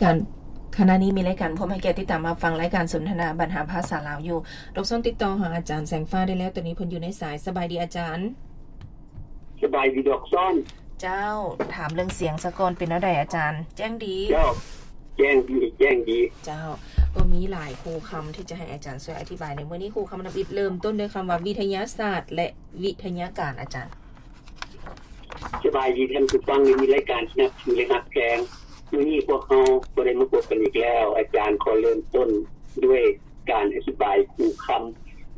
ການ ຂະນະນີ້ມີລາຍການ ພວມໃຫ້ກຽດຕິດຕາມຮັບຟັງລາຍການສົນທະນາບັນຫາພາສາລາວຢູ່. ລົບຊອນຕິດຕໍ່ຫາອາຈານແສງຟ້າໄດ້ແລ້ວ, ຕອນນີ້ເພິ່ນຢູ່ໃນສາຍ. ສະບາຍດີອາຈານ. ສະບາຍດີດອກຊອນ. ເຈົ້າ, ຖາມເລື່ອງສຽງສາກ່ອນ, ເປັນແນວໃດອາຈານ? ແຈ້ງດີ? ເຈົ້າ, ແຈ້ງດີ, ແຈ້ງດີ. ເຈົ້າ, ກໍມີຫຼາຍຄູ່ຄຳທີ່ຈະໃຫ້ອາຈານຊ່ວຍອະທິບາຍໃນມື້ນີ້. ຄູ່ຄຳທຳອິດເລີ່ມຕົ້ນດ້ວຍຄຳວ່າວິທະຍາສາດ ແລະ ວິທະຍາການ, ອາຈານ. ສະບາຍດີທ່ານຜູ້ຟັງ ທີ່ມີລາຍການທີ່ນັບຖື ແລະ ຮັກແພງ. ມື້ນີ້ພວກເຮົາກໍໄດ້ມາພົບກັນອີກແລ້ວ. ອາຈານຂໍເລີ່ມຕົ້ນດ້ວຍການອະທິບາຍຄູ່ຄຳ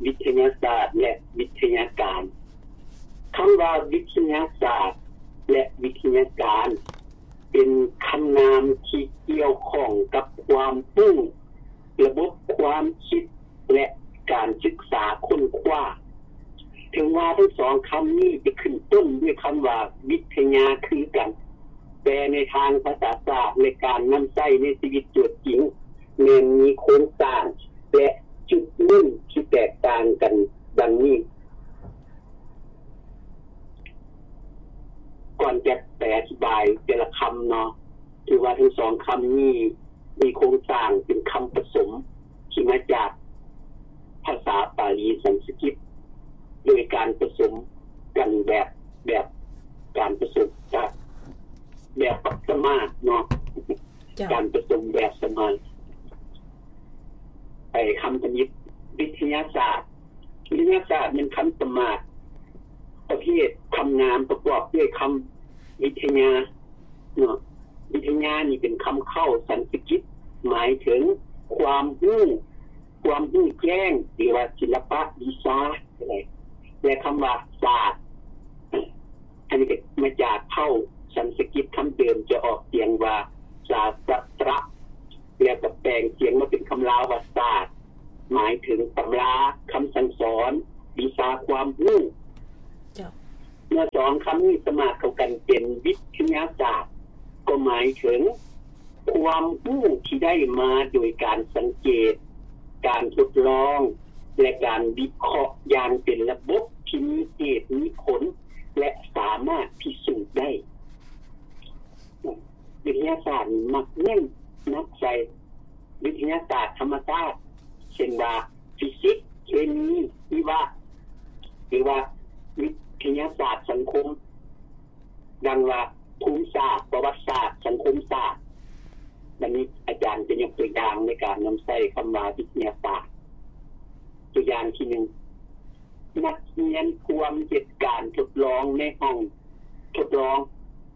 ວິທະຍາສາດ ແລະ ວິທະຍາການ. ຄຳວ່າວິທະຍາສາດ ແລະ ວິທະຍາການ ເປັນຄຳນາມທີ່ກ່ຽວຂ້ອງກັບຄວາມຮູ້, ລະບົບຄວາມຄິດ ແລະ ການສຶກສາຄົ້ນຄວ້າ. ເຖິງວ່າທັງສອງຄຳນີ້ຈະຂຶ້ນຕົ້ນດ້ວຍຄຳວ່າວິທະຍາຄືກັນ, ແຕ່ໃນທາງພາສາສາດ ແລະ ການນຳໃຊ້ໃນຊີວິດຕົວຈິງ ແມ່ນມີໂຄງສ້າງ ແລະ ຈຸດເນັ້ນທີ່ແຕກຕ່າງກັນດັ່ງນີ້. ກ່ອນຈະໄປອະທິບາຍແຕ່ລະຄຳເນາະ, ຖືວ່າທັງສອງຄຳນີ້ມີໂຄງສ້າງເປັນຄຳປະສົມທີ່ມາຈາກພາສາປາລີສັນສະກິດ ໂດຍການປະສົມກັນແບບ, ແບບການປະສົມຈາກ ແບບປະສະມາດເນາະ, ເຈົ້າ. ການປະສົມແບບສະມາດ. ໄປຄຳທຳອິດ, ວິທະຍາສາດ. ວິທະຍາສາດແມ່ນຄຳສະມາດປະເພດຄຳນາມປະກອບດ້ວຍຄຳວິທະຍາເນາະ. ວິທະຍານີ້ເປັນຄຳເຄົ້າສັນສະກິດ ໝາຍເຖິງຄວາມຮູ້, ຄວາມຮູ້ແຈ້ງ ຫຼືວ່າສິລະປະວິຊາກໍໄດ້. ແລະ ຄຳວ່າສາດ ອັນນີ້ກໍມາຈາກເຄົ້າສັນສະກິດຄຳເດີມ ຈະອອກສຽງວ່າສາສະຕະ ແລ້ວກໍແປງສຽງມາເປັນຄຳລາວວ່າສາດ ໝາຍເຖິງຕຳລາ, ຄຳສັ່ງສອນ, ວິຊາຄວາມຮູ້. ເຈົ້າ. ເມື່ອສອງຄຳນີ້ສະມາດເຂົ້າກັນເປັນວິທະຍາສາດ ກໍໝາຍເຖິງຄວາມຮູ້ທີ່ໄດ້ມາໂດຍການສັງເກດ, ການທົດລອງ ແລະ ການວິເຄາະຢ່າງເປັນລະບົບທີ່ມີເຫດມີຜົນ ແລະ ສາມາດພິສູດໄດ້. ວິທະຍາສາດນີ້ມັກເນັ້ນໜັກໃສ່ວິທະຍາສາດທຳມະຊາດ ເຊັ່ນວ່າ ຟີຊິກ, ເຄມີ, ຊີວະ ຫຼືວ່າວິທະຍາສາດສັງຄົມ ດັ່ງວ່າ ພູມສາດ, ປະຫວັດສາດ, ສັງຄົມສາດ. ບັດນີ້ອາຈານຈະຍົກຕົວຢ່າງໃນການນຳໃຊ້ຄຳວ່າວິທະຍາສາດ. ຕົວຢ່າງທີໜຶ່ງ, ນັກຮຽນພວມເຮັດການທົດລອງໃນຫ້ອງ ທົດລອງ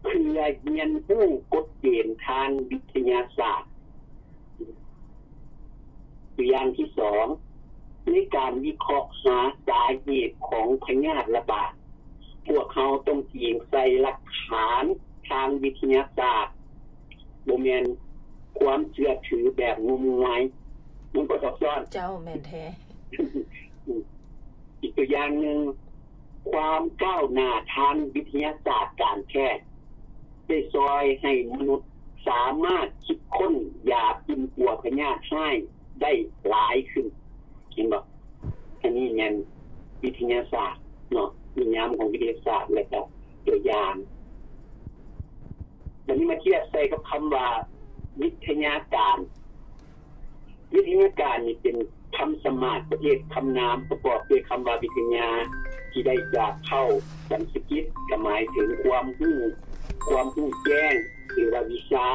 ເພື່ອຮຽນຮູ້ກົດເກນທາງວິທະຍາສາດ. ຕົວຢ່າງທີສອງ, ໃນການວິເຄາະຫາສາເຫດຂອງພະຍາດລະບາດ, ພວກເຮົາຕ້ອງອີງໃສ່ຫຼັກຖານທາງວິທະຍາສາດ, ບໍ່ແມ່ນຄວາມເຊື່ອຖືແບບງົມງາຍ. ມັນກໍຊັບຊ້ອນ. ເຈົ້າ, ແມ່ນແທ້. ອີກຕົວຢ່າງໜຶ່ງ, ຄວາມກ້າວໜ້າທາງວິທະຍາສາດການແພດ ໄດ້ຊ່ອຍໃຫ້ມະນຸດສາມາດຄິດຄົ້ນຢາປິ່ນປົວພະຍາດຮ້າຍໄດ້ຫຼາຍຂຶ້ນ. ເຫັນບໍ່? ອັນນີ້ແມ່ນວິທະຍາສາດເນາະ, ນິຍາມຂອງວິທະຍາສາດ ແລະ ກໍຕົວຢ່າງ. ບັດນີ້ມາທຽບໃສ່ກັບຄຳວ່າວິທະຍາການ. ວິທະຍາການນີ້ເປັນຄຳສະມາດປະເພດຄຳນາມປະກອບດ້ວຍຄຳວ່າວິທະຍາ ທີ່ໄດ້ຈາກເຄົ້າສັນສະກິດ ກໍໝາຍເຖິງຄວາມຮູ້, ຄວາມຮູ້ແຈ້ງ ຫຼືວ່າວິຊາ.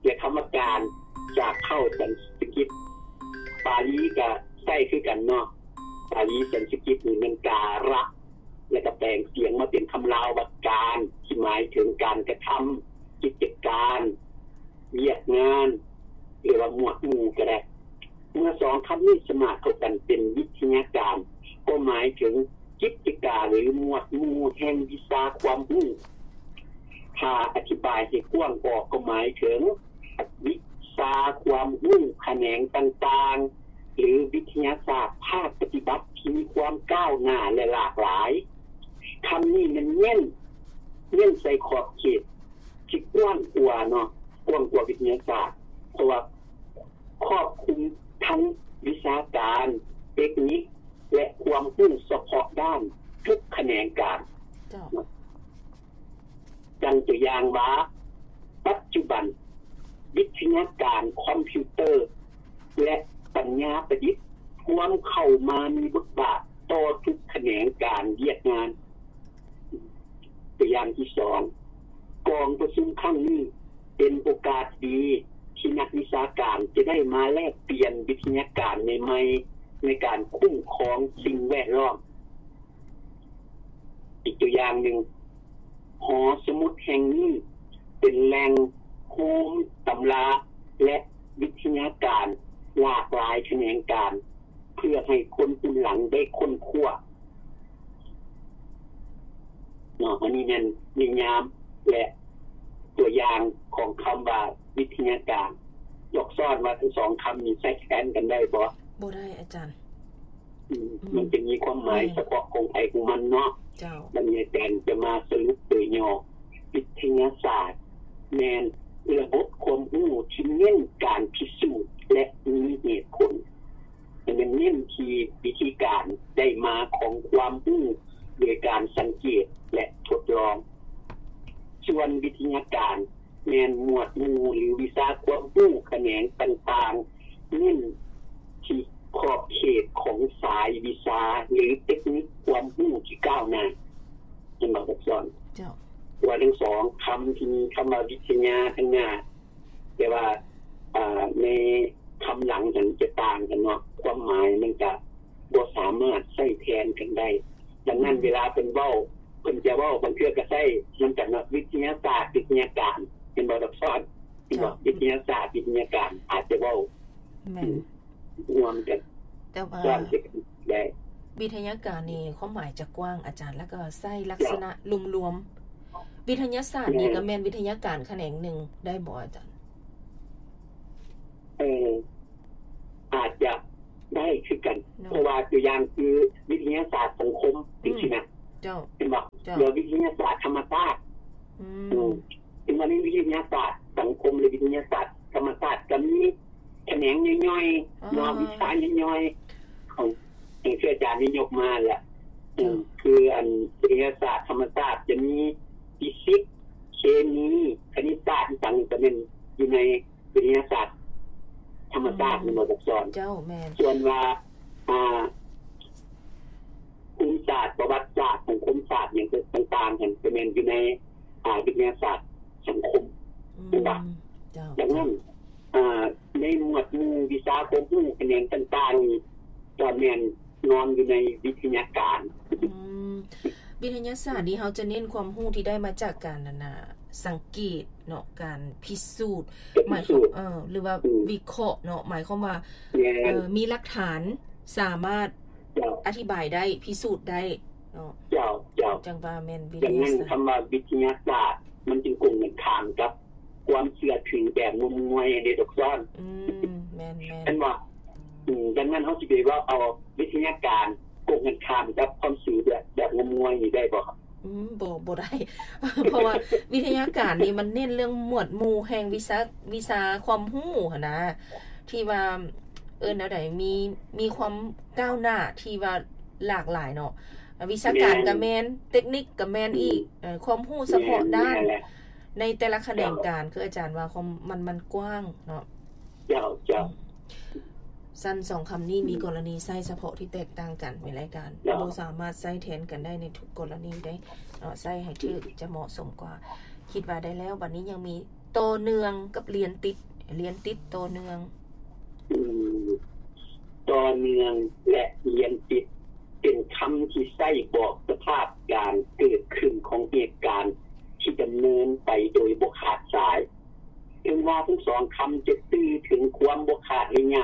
ແລະ ຄຳວ່າການ ຈາກເຄົ້າສັນສະກິດ ປາລີກໍໃຊ້ຄືກັນເນາະ, ປາລີສັນສະກິດນີ້ແມ່ນກາຣະ ແລະ ກໍແປງສຽງມາເປັນຄຳລາວວ່າການ ທີ່ໝາຍເຖິງການກະທຳ, ກິດຈະການ, ວຽກງານ ຫຼືວ່າໝວດໝູ່ກໍໄດ້. ເມື່ອສອງຄຳນີ້ສະມາດເຂົ້າກັນເປັນວິທະຍາການ ກໍໝາຍເຖິງກິດຈະການ ຫຼື ໝວດໝູ່ແຫ່ງວິຊາຄວາມຮູ້. ຖ້າອະທິບາຍໃຫ້ກວ້າງອອກ ກໍໝາຍເຖິງວິຊາຄວາມຮູ້ຂະແໜງຕ່າງໆ ຫຼື ວິທະຍາສາດພາກປະຕິບັດທີ່ມີຄວາມກ້າວໜ້າ ແລະ ຫຼາກຫຼາຍ. ຄຳນີ້ແມ່ນເນັ້ນ, ເນັ້ນໃສ່ຂອບເຂດ ທີ່ກວ້າງກວ່າເນາະ, ກວ້າງກວ່າວິທະຍາສາດ ເພາະວ່າຄອບຄຸມທັງວິຊາການ, ເຕັກນິກ ແລະ ຄວາມຮູ້ສະເພາະດ້ານທຸກຂະແໜງການ. ເຈົ້າ. ດັ່ງຕົວຢ່າງວ່າ ປັດຈຸບັນ ວິທະຍາການຄອມພິວເຕີ ແລະ ປັນຍາປະດິດ ພວມເຂົ້າມາມີບົດບາດຕໍ່ທຸກຂະແໜງການວຽກງານ. ຕົວຢ່າງທີສອງ, ກອງປະຊຸມຄັ້ງນີ້ເປັນໂອກາດດີທີ່ນັກວິຊາການຈະໄດ້ມາແລກປ່ຽນວິທະຍາການໃໝ່ໆໃນການຄຸ້ມຄອງສິ່ງແວດລ້ອມ. ອີກຕົວຢ່າງໜຶ່ງ, ຫໍສະໝຸດແຫ່ງນີ້ເປັນແຫຼ່ງໂຮມຕຳລາ ແລະ ວິທະຍາການຫຼາກຫຼາຍຂະແໜງການ ເພື່ອໃຫ້ຄົນຮຸ່ນຫຼັງໄດ້ຄົ້ນຄວ້າ. ເນາະ, ອັນນີ້ແມ່ນນິຍາມ ແລະ ຕົວຢ່າງຂອງຄຳວ່າວິທະຍາການ. ຢາກສອບຖາມວ່າທັງສອງຄຳນີ້ໃຊ້ແທນກັນໄດ້ບໍ່? ບໍ່ໄດ້ອາຈານ. ອືມ ອືມ ມັນຈະມີຄວາມໝາຍ ແມ່ນ ສະເພາະຂອງໃຜຂອງມັນເນາະ. ເຈົ້າ. ບັດນີ້ອາຈານຈະມາສະຫຼຸບໂດຍຫຍໍ້. ວິທະຍາສາດແມ່ນລະບົບຄວາມຮູ້ທີ່ເນັ້ນການພິສູດ ແລະ ມີເຫດຜົນ. ແມ່ນເນັ້ນທີ່ວິທີການໄດ້ມາຂອງຄວາມຮູ້ໂດຍການສັງເກດ ແລະ ທົດລອງ. ສ່ວນວິທະຍາການ ແມ່ນໝວດໝູ່ ຫຼື ວິຊາຄວາມຮູ້ຂະແໜງຕ່າງໆ ເນັ້ນທີ່ຂອບເຂດຂອງສາຍວິຊາ ຫຼື ເຕັກນິກຄວາມຮູ້ທີ່ກ້າວໜ້າ. ເຫັນບໍ່ ອັກສອນ? ເຈົ້າ. ວ່າທັງສອງຄຳທີ່ມີຄຳວ່າວິທະຍາທາງໜ້າ, ແຕ່ວ່າ ອາ ໃນຄຳຫຼັງຫັ້ນຈະຕ່າງກັນເນາະ, ຄວາມໝາຍມັນຈະບໍ່ສາມາດໃຊ້ແທນກັນໄດ້. ດັ່ງນັ້ນ ອືມ ເວລາເພິ່ນເວົ້າ ເພິ່ນຈະເວົ້າ ບາງເທື່ອກໍໃຊ້ນຳກັນເນາະ, ວິທະຍາສາດ ວິທະຍາການ. ເຫັນບໍ່ ອັກສອນ? ເຫັນບໍ່? ເຈົ້າ. ວິທະຍາສາດ ວິທະຍາການ ອາດຈະເວົ້າ ອືມ ຮ່ວມກັນ. ແຕ່ວ່າວິທະຍາການນີ້ຄວາມໝາຍຈະກວ້າງອາຈານ, ແລ້ວກໍໃຊ້ລັກສະນະລວມໆ. ວິທະຍາສາດນີ້ກໍແມ່ນວິທະຍາການຂະແໜງໜຶ່ງໄດ້ບໍ່ອາຈານ? ເອີ ອາດຈະໄດ້ຄືກັນ ເນາະ, ເພາະວ່າຕົວຢ່າງຄືວິທະຍາສາດສັງຄົມ ອືມ ຈັ່ງຊີ້ນະ. ເຈົ້າ. ເຫັນບໍ່? ເຈົ້າ. ແລ້ວວິທະຍາສາດທຳມະຊາດ ອືມ ເຫັນບໍ່? ໃນວິທະຍາສາດສັງຄົມ ແລະ ວິທະຍາສາດທຳມະຊາດກໍມີຂະແໜງຍ່ອຍໆ ເນາະ, ວິຊາຍ່ອຍໆ ຂອງ ຢ່າງທີ່ອາຈານໄດ້ຍົກມາແຫຼະ. ເຈົ້າ. ຄືອັນວິທະຍາສາດທຳມະຊາດຈະມີຟີຊິກ, ເຄມີ, ຄະນິດສາດ ອີ່ຫຍັງກໍແມ່ນຢູ່ໃນ ວິທະຍາສາດທຳມະຊາດ ອືມ ແມ່ນບໍ່ ອັກສອນ? ເຈົ້າ, ແມ່ນ. ສ່ວນວ່າ ອ່າ ພູມສາດ, ປະຫວັດສາດ, ສັງຄົມສາດ ຫຍັງຕ່າງໆ ຫັ້ນ ກໍແມ່ນຢູ່ໃນ ອ່າ ວິທະຍາສາດສັງຄົມ. ອືມ ແມ່ນບໍ່? ເຈົ້າ. ດັ່ງນັ້ນ ອ່າ ໃນໝວດໝູ່ວິຊາຄວາມຮູ້ຂະແໜງຕ່າງໆ ນີ້ ກໍແມ່ນ ນອນຢູ່ໃນວິທະຍາການ. ອືມ ວິທະຍາສາດນີ້ເຮົາຈະເນັ້ນຄວາມຮູ້ທີ່ໄດ້ມາຈາກການ ອັນນ່າ ສັງເກດເນາະ, ການພິສູດ ການພິສູດ ໝາຍຄວາມ ເອີ ຫຼືວ່າ ອືມ ວິເຄາະເນາະ, ໝາຍຄວາມວ່າ ແມ່ນ ເອີ ມີຫຼັກຖານ ສາມາດ ເຈົ້າ ອະທິບາຍໄດ້ ພິສູດໄດ້ເນາະ. ເຈົ້າ ເຈົ້າ. ຈັ່ງວ່າແມ່ນວິທະຍາສາດ. ດັ່ງນັ້ນ ຄຳວ່າວິທະຍາສາດ ມັນຈຶ່ງກົງກັນຂ້າມກັບ ຄວາມເຊື່ອຖືແບບງົມງວາຍເດ້ ອັກສອນ. ອືມ ແມ່ນໆ ແມ່ນບໍ່? ອືມ ດັ່ງນັ້ນເຮົາຊິໄປເວົ້າເອົາວິທະຍາການກົງກັນຂ້າມກັບຄວາມເຊື່ອແບບ ແບບງົມງວາຍນີ້ໄດ້ບໍ່? ອືມ ບໍ່ ບໍ່ໄດ້ ເພາະວ່າວິທະຍາການນີ້ມັນເນັ້ນເລື່ອງໝວດໝູ່ແຫ່ງວິຊາ ວິຊາຄວາມຮູ້ຫັ້ນນະ ທີ່ວ່າ ເອີ້ນແນວໃດ ມີ ມີຄວາມກ້າວໜ້າທີ່ວ່າຫຼາກຫຼາຍເນາະ. ວິຊາການກໍແມ່ນ ແມ່ນ ເຕັກນິກກໍແມ່ນອີກ ອືມ ເອີ ຄວາມຮູ້ສະເພາະດ້ານ ແມ່ນ ແມ່ນແຫຼະ ໃນແຕ່ລະຂະແໜງການ ເຈົ້າ ຄືອາຈານວ່າຄວາມ ມັນ ມັນກວ້າງເນາະ. ເຈົ້າ ເຈົ້າ. ອືມ ຊັ້ນສອງຄຳນີ້ ອືມ ມີກໍລະນີໃຊ້ສະເພາະທີ່ແຕກຕ່າງກັນ ແມ່ນລະ ອາຈານ ເຈົ້າ ບໍ່ສາມາດໃຊ້ແທນກັນໄດ້ໃນທຸກກໍລະນີໄດ້ເນາະ, ໃຊ້ໃຫ້ຖືກ ອືມ ຈະເໝາະສົມກວ່າ. ຄິດວ່າໄດ້ແລ້ວ, ບັດນີ້ຍັງມີຕໍ່ເນື່ອງກັບລຽນຕິດ, ລຽນຕິດຕໍ່ເນື່ອງ. ອືມ ຕໍ່ເນື່ອງ ແລະ ລຽນຕິດ ເປັນຄຳທີ່ໃຊ້ບອກສະພາບການເກີດຂຶ້ນຂອງເຫດການທີ່ດຳເນີນໄປໂດຍບໍ່ຂາດສາຍ. ເຖິງວ່າທັງສອງຄຳຈະສື່ເຖິງຄວາມບໍ່ຂາດໄລຍະ,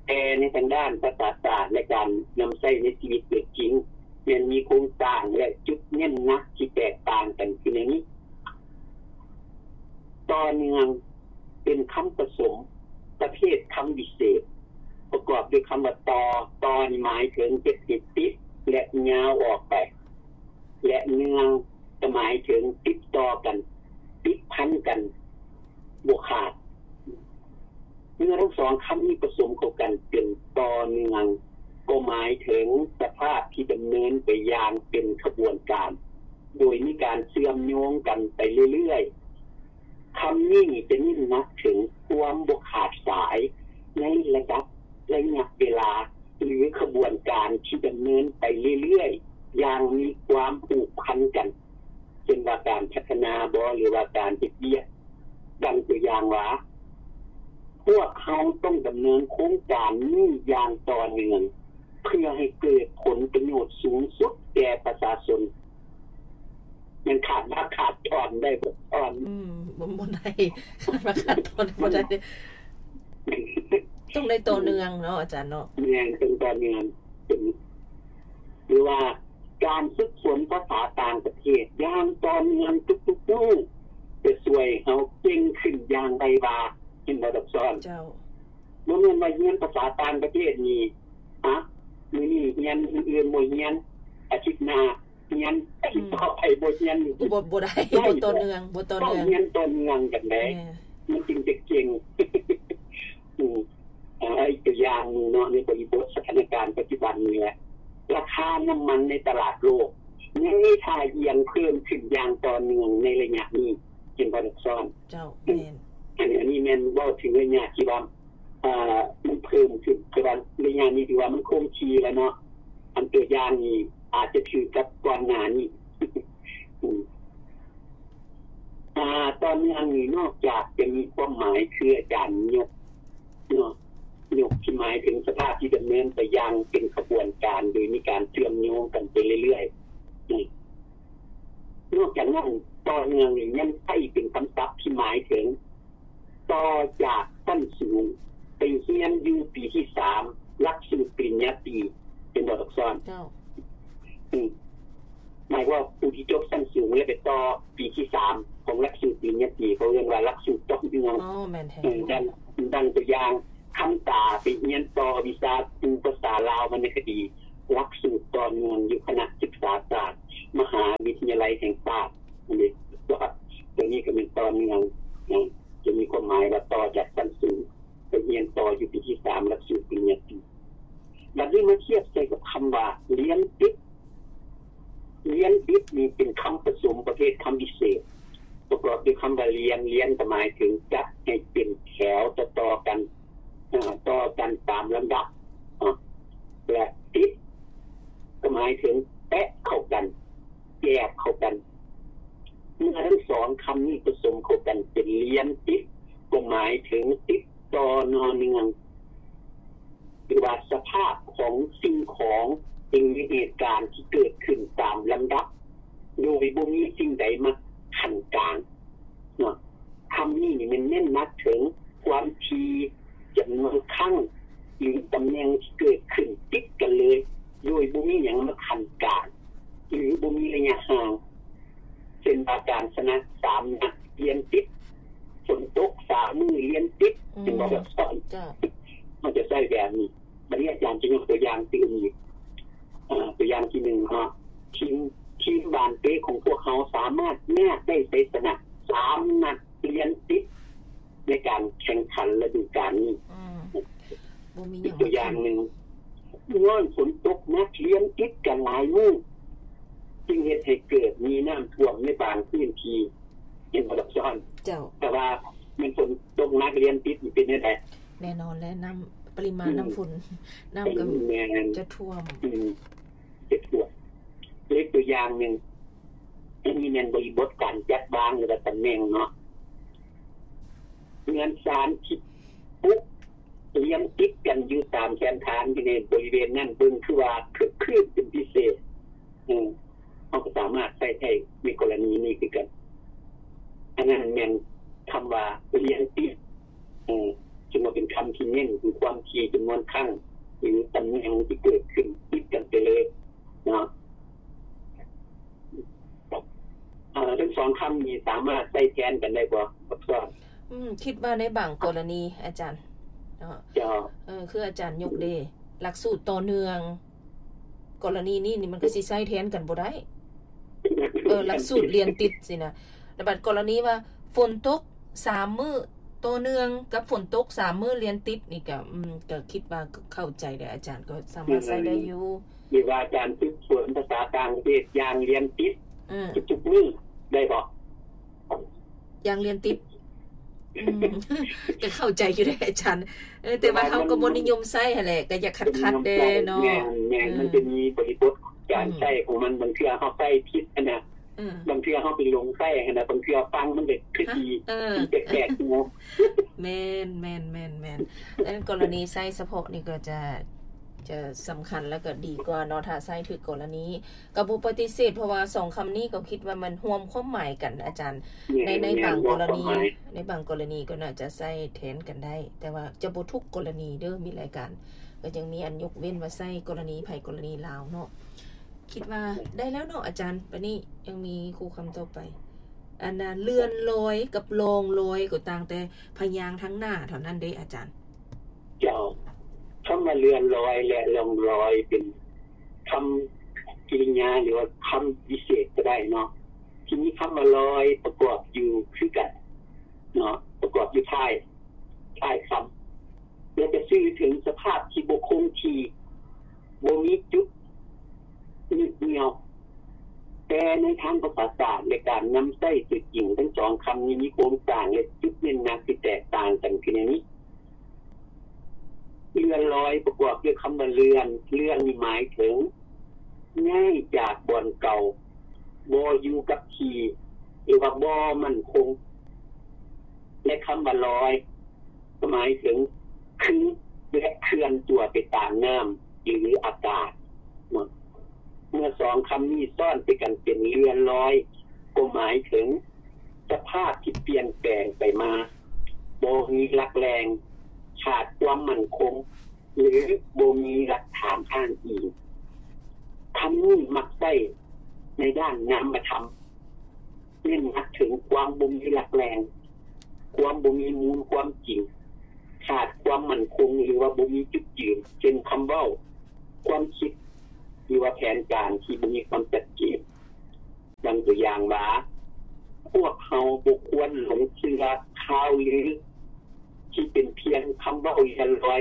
ແຕ່ໃນທາງດ້ານພາສາສາດ ແລະ ການນຳໃຊ້ໃນຊີວິດຕົວຈິງ ແມ່ນມີໂຄງສ້າງ ແລະ ຈຸດເນັ້ນໜັກທີ່ແຕກຕ່າງກັນຄືແນວນີ້. ຕໍ່ເນື່ອງ ເປັນຄຳປະສົມປະເພດຄຳວິເສດ ປະກອບດ້ວຍຄຳວ່າ ຕໍ່. ຕໍ່ນີ້ໝາຍເຖິງເຮັດໃຫ້ຕິດ ແລະ ຍາວອອກໄປ ແລະ ເນື່ອງ ກໍໝາຍເຖິງຕິດຕໍ່ກັນ, ຕິດພັນກັນ, ບໍ່ຂາດ. ເມື່ອທັງສອງຄຳນີ້ປະສົມເຂົ້າກັນເປັນຕໍ່ເນື່ອງ ກໍໝາຍເຖິງສະພາບທີ່ດຳເນີນໄປຢ່າງເປັນຂະບວນການ ໂດຍມີການເຊື່ອມໂຍງກັນໄປເລື້ອຍໆ. ຄຳ ນີ້ຈະເນັ້ນໜັກເຖິງຄວາມບໍ່ຂາດສາຍໃນລະດັບໄລຍະເວລາ ຫຼືຂະບວນການທີ່ດຳເນີນໄປເລື້ອຍໆຢ່າງມີຄວາມຜູກພັນກັນ ເຊັ່ນວ່າການພັດທະນາບໍ ຫຼືວ່າການເຮັດວຽກ. ດັ່ງຕົວຢ່າງວ່າ ພວກເຮົາຕ້ອງດຳເນີນໂຄງການນີ້ຢ່າງຕໍ່ເນື່ອງ ເພື່ອໃຫ້ເກີດຜົນປະໂຫຍດສູງສຸດແກ່ປະຊາຊົນ. ມັນຂາດຮາກຂາດທ່ອນໄດ້ບໍ່ທ່ອນ? ອືມ ບໍ່ ບໍ່ໄດ້ ຂາດຮາກຂາດທ່ອນບໍ່ໄດ້ ຕ້ອງໄດ້ຕໍ່ເນື່ອງເນາະອາຈານເນາະ. ແມ່ນ ຕ້ອງຕໍ່ເນື່ອງ ເປັນ ຫຼືວ່າການຝຶກຝົນພາສາຕ່າງປະເທດຢ່າງຕໍ່ເນື່ອງທຸກໆມື້ ຈະຊ່ວຍເຮົາເກັ່ງຂຶ້ນຢ່າງໄວວາ ເຫັນບໍ່ດອກຊອນ? ເຈົ້າ. ບໍ່ແມ່ນວ່າຮຽນພາສາຕ່າງປະເທດນີ້ ຮະ ມື້ນີ້ຮຽນ ມື້ອື່ນບໍ່ຮຽນ ອາທິດໜ້າຮຽນ ອາທິດຕໍ່ໄປບໍ່ຮຽນ ບໍ່ ບໍ່ໄດ້ ບໍ່ຕໍ່ເນື່ອງ ບໍ່ຕໍ່ເນື່ອງ ຕ້ອງຮຽນຕໍ່ເນື່ອງກັນເດ້ ມັນຈຶ່ງຈະເກັ່ງ. ອືມ ອາ ອີກຕົວຢ່າງໜຶ່ງເນາະ ໃນບໍລິບົດສະຖານະການປັດຈຸບັນນີ້ແຫຼະ ລາຄານ້ຳມັນໃນຕະຫຼາດໂລກຍັງມີທ່າອ່ຽງເພີ່ມຂຶ້ນຢ່າງຕໍ່ເນື່ອງໃນໄລຍະນີ້ ເຫັນບໍ່ດອກຊອນ? ເຈົ້າ ແມ່ນ. ອັນ ອັນນີ້ແມ່ນເວົ້າເຖິງໄລຍະທີ່ວ່າ ເອີ ມັນເພີ່ມຂຶ້ນ ແຕ່ວ່າໄລຍະນີ້ຖືວ່າມັນຄົງທີ່ແລ້ວເນາະ. ອັນຕົວຢ່າງນີ້ອາດຈະຖືກກັບກ່ອນໜ້ານີ້. ອືມ ອາ ຕໍ່ເນື່ອງນີ້ນອກຈາກຈະມີຄວາມໝາຍຄືອາຈານຍົກເນາະ ຍົກທີ່ໝາຍເຖິງສະພາບທີ່ດຳເນີນໄປຢ່າງເປັນຂະບວນການ ໂດຍມີການເຊື່ອມໂຍງກັນໄປເລື້ອຍໆ. ນອກຈາກນັ້ນ ຕໍ່ເນື່ອງນີ້ຍັງໃຊ້ເປັນຄຳສັບທີ່ໝາຍເຖິງ ຕໍ່ຈາກຊັ້ນສູງໄປຮຽນຢູ່ປີທີສາມ ຫຼັກສູດປະລິນຍາຕີ ເຫັນບໍ່ດອກຊອນ? ເຈົ້າ. ອືມ ໝາຍວ່າຜູ້ທີ່ຈົບຊັ້ນສູງແລ້ວໄປຕໍ່ປີທີສາມຂອງຫຼັກສູດປະລິນຍາຕີ ເຂົາເອີ້ນວ່າຫຼັກສູດຕໍ່ເນື່ອງ. ອໍ ແມ່ນແທ້. ເອີ ດັ່ງ ດັ່ງຕົວຢ່າງ ຄຳຕາໄປຮຽນຕໍ່ວິຊາຄູພາສາລາວວັນນະຄະດີ ຫຼັກສູດຕໍ່ເນື່ອງຢູ່ຄະນະສຶກສາສາດ ມະຫາວິທະຍາໄລແຫ່ງຊາດ ອັນນີ້ ຕົວນີ້ກໍແມ່ນຕໍ່ເນື່ອງ ຈະມີຄວາມໝາຍວ່າຕໍ່ຈາກຊັ້ນສູງໄປຮຽນຕໍ່ຢູ່ປີທີສາມ ຫຼັກສູດປະລິນຍາຕີ. ບັດນີ້ມາທຽບໃສ່ກັບຄຳວ່າລຽນຕິດ. ລຽນຕິດນີ້ເປັນຄຳປະສົມປະເພດຄຳພິເສດ ປະກອບດ້ວຍຄຳວ່າລຽນ, ລຽນກໍໝາຍເຖິງຈັດໃຫ້ເປັນແຖວຕໍ່ໆກັນ ອາ ຕໍ່ກັນຕາມລຳດັບ ອາ ແລະ ຕິດກໍໝາຍເຖິງແປະເຂົ້າກັນ ແຍກເຂົ້າກັນ. ເມື່ອທັງສອງຄຳນີ້ປະສົມເຂົ້າກັນເປັນລຽນຕິດ ກໍໝາຍເຖິງຕິດຕໍ່ເນື່ອງ ຫຼືວ່າສະພາບຂອງສິ່ງຂອງ ຫຼືເຫດການທີ່ເກີດຂຶ້ນຕາມລຳດັບ ໂດຍບໍ່ມີສິ່ງໃດມາຂັ້ນກາງເນາະ. ຄຳນີ້ນີ້ແມ່ນເນັ້ນໜັກເຖິງຄວາມຖີ່, ຈຳນວນຄັ້ງ ຫຼືຕຳແໜ່ງທີ່ເກີດຂຶ້ນຕິດກັນເລີຍ ໂດຍບໍ່ມີຫຍັງມາຂັ້ນກາງ ຫຼືບໍ່ມີໄລຍະຫ່າງ ເຊັ່ນວ່າການຊະນະສາມນັດລຽນຕິດ, ຝົນຕົກສາມມື້ລຽນຕິດ ເຫັນບໍ່? ແບບ ເຈົ້າ ເຮົາຈະໃຊ້ແບບນີ້. ບັດນີ້ອາຈານຈະຍົກຕົວຢ່າງຕື່ມອີກ ອາ ຕົວຢ່າງທີໜຶ່ງເນາະ ທີມ ທີມບານເຕະຂອງພວກເຮົາສາມາດຍາດໄດ້ໄຊຊະນະສາມນັດລຽນຕິດໃນການແຂ່ງຂັນລະດູການນີ້. ອືມ ບໍ່ມີຫຍັງ ອີກຕົວຢ່າງໜຶ່ງ ຍ້ອນຝົນຕົກໜັກລຽນຕິດກັນຫຼາຍມື້ ຈຶ່ງເຮັດໃຫ້ເກີດມີນ້ຳຖ້ວມໃນບາງພື້ນທີ່ ເຫັນບໍ່ດອກຊອນ? ເຈົ້າ. ແຕ່ວ່າແມ່ນຝົນຕົກໜັກລຽນຕິດນີ້ເປັນແນວໃດ? ແນ່ນອນແຫຼະ ນ້ຳ ປະລິມານ ອືມ ນ້ຳຝົນ ນ້ຳກໍ ແມ່ນ ຈະຖ້ວມ ອືມ ຈະຖ້ວມ. ເລີກຕົວຢ່າງໜຶ່ງ ອັນນີ້ແມ່ນບໍລິບົດການຈັດວາງ ຫຼືວ່າຕຳແໜ່ງເນາະ ເຮືອນຊານທີ່ປຸກລຽນຕິດກັນຢູ່ຕາມແຄມທາງ ຢູ່ໃນບໍລິເວນນັ້ນ ເບິ່ງຄືວ່າຄຶກຄື້ນເປັນພິເສດ. ເອີ ເຮົາກໍສາມາດໃຊ້ໄດ້ໃນກໍລະນີນີ້ຄືກັນ. ອັນນັ້ນແມ່ນຄຳວ່າລຽນຕິດ ເອີ ຈຶ່ງວ່າເປັນຄຳທີ່ເນັ້ນເຖິງຄວາມຖີ່ ຈຳນວນຄັ້ງ ຫຼືຕຳແໜ່ງທີ່ເກີດຂຶ້ນຕິດກັນໄປເລີຍເນາະ. ເອີ ທັງສອງຄຳນີ້ສາມາດໃຊ້ແທນກັນໄດ້ບໍ່ ບັກຊອນ? ອືມ ຄິດວ່າໃນບາງກໍລະນີອາຈານເນາະ. ເຈົ້າ. ເອີ ຄືອາຈານຍົກເດ ຫຼັກສູດຕໍ່ເນື່ອງ ກໍລະນີນີ້ນີ້ມັນກໍຊິໃຊ້ແທນກັນບໍ່ໄດ້. ເອີ ຫຼັກສູດລຽນຕິດຊີ້ນະ. ແລ້ວບັດກໍລະນີວ່າຝົນຕົກສາມມື້ຕໍ່ເນື່ອງກັບຝົນຕົກສາມມື້ລຽນຕິດນີ້ກໍ ອືມ ກໍຄິດວ່າເຂົ້າໃຈແຫຼະ ອາຈານກໍສາມາດໃຊ້ໄດ້ຢູ່. ຫຼືວ່າການຝຶກຝົນພາສາຕ່າງປະເທດຢ່າງລຽນຕິດ ອືມ ທຸກໆມື້ໄດ້ບໍ່? ຢ່າງລຽນຕິດ ອືມ ກໍເຂົ້າໃຈຢູ່ເດ້ອາຈານ. ເອີ ແຕ່ວ່າເຮົາກໍບໍ່ນິຍົມໃຊ້ຫັ້ນແຫຼະ ກໍຢາກຂັດໆແດ່ເນາະ. ແມ່ນໆ ເອີ ມັນຈະມີບໍລິບົດການໃຊ້ຂອງມັນ. ອືມ ບາງເທື່ອເຮົາໃຊ້ຜິດຫັ້ນນະ ເອີ ບາງເທື່ອເຮົາໄປຫຼົງໃຊ້ຫັ້ນນະ ບາງເທື່ອຟັງມັນກໍຄືຊິ ເອີ ແປກໆຢູ່. ແມ່ນໆໆໆ ແຕ່ກໍລະນີໃຊ້ສະເພາະນີ້ກໍຈະ ຈະສຳຄັນ ແລ້ວກໍດີກວ່າເນາະ ຖ້າໃຊ້ຖືກກໍລະນີ. ກໍບໍ່ປະຕິເສດ ເພາະວ່າສອງຄຳນີ້ກໍຄິດວ່າມັນຮ່ວມຄວາມໝາຍກັນອາຈານ. ແມ່ນ ໃນ ໃນບາງກໍລະນີ ແມ່ນ ໃນບາງກໍລະນີກໍໜ້າຈະໃຊ້ແທນກັນໄດ້ ແຕ່ວ່າຈະບໍ່ທຸກກໍລະນີເດີ້. ມີຫຼາຍການ ກໍຍັງມີອັນຍົກເວັ້ນວ່າໃຊ້ກໍລະນີໃຜກໍລະນີລາວເນາະ. ຄິດວ່າໄດ້ແລ້ວເນາະອາຈານ. ບາດນີ້ຍັງມີຄູ່ຄຳຕໍ່ໄປ. ອັນນ່າ ເລື່ອນລອຍກັບລ່ອງລອຍ ກໍຕ່າງແຕ່ພະຍາງທາງໜ້າເທົ່ານັ້ນເດ້ອາຈານ. ເຈົ້າ ຄຳວ່າເລື່ອນລອຍ ແລະ ລ່ອງລອຍ ເປັນຄຳກິລິຍາ ຫຼືວ່າຄຳວິເສດກໍໄດ້ເນາະ ທີ່ມີຄຳວ່າລອຍປະກອບຢູ່ຄືກັນເນາະ ປະກອບຢູ່ທ້າຍ ທ້າຍຄຳ ແລະ ຈະສື່ເຖິງສະພາບທີ່ບໍ່ຄົງທີ່ ບໍ່ມີຈຸດຍຶດໜ່ຽວ. ແຕ່ໃນທາງພາສາສາດ ແລະ ການນຳໃຊ້ຕົວຈິງ ທັງສອງຄຳນີ້ມີໂຄງສ້າງ ແລະ ຈຸດເນັ້ນໜັກທີ່ແຕກຕ່າງກັນຄືແນວນີ້. ເລື່ອນລອຍປະກອບດ້ວຍຄຳວ່າເລື່ອນ, ເລື່ອນນີ້ໝາຍເຖິງຍ້າຍຈາກບ່ອນເກົ່າ, ບໍ່ຢູ່ກັບທີ່ ຫຼືວ່າບໍ່ໝັ້ນຄົງ ແລະ ຄຳວ່າລອຍ ກໍໝາຍເຖິງຄື ແລະ ເຄື່ອນຕົວໄປຕາມນ້ຳ ຫຼື ອາກາດເນາະ. ເມື່ອສອງຄຳນີ້ຊ້ອນໃສ່ກັນເປັນເລື່ອນລອຍ ກໍໝາຍເຖິງສະພາບທີ່ປ່ຽນແປງໄປມາ, ບໍ່ມີຫຼັກແຫຼ່ງ, ຂາດຄວາມໝັ້ນຄົງ ຫຼື ບໍ່ມີຫຼັກຖານອ້າງອີງ. ຄຳນີ້ມັກໃຊ້ໃນດ້ານນາມະທຳ, ເນັ້ນໜັກເຖິງຄວາມບໍ່ມີຫຼັກແຫຼ່ງ, ຄວາມບໍ່ມີມູນຄວາມຈິງ, ຂາດຄວາມໝັ້ນຄົງ ຫຼືວ່າບໍ່ມີຈຸດຢືນ, ເຊັ່ນ ຄຳເວົ້າ, ຄວາມຄິດ ຫຼືວ່າແຜນການທີ່ບໍ່ມີຄວາມຊັດເຈນ. ດັ່ງຕົວຢ່າງວ່າ, ພວກເຮົາບໍ່ຄວນຫຼົງເຊື່ອຂ່າວລືທີ່ເປັນພຽງຄຳເວົ້າເລື່ອນລອຍ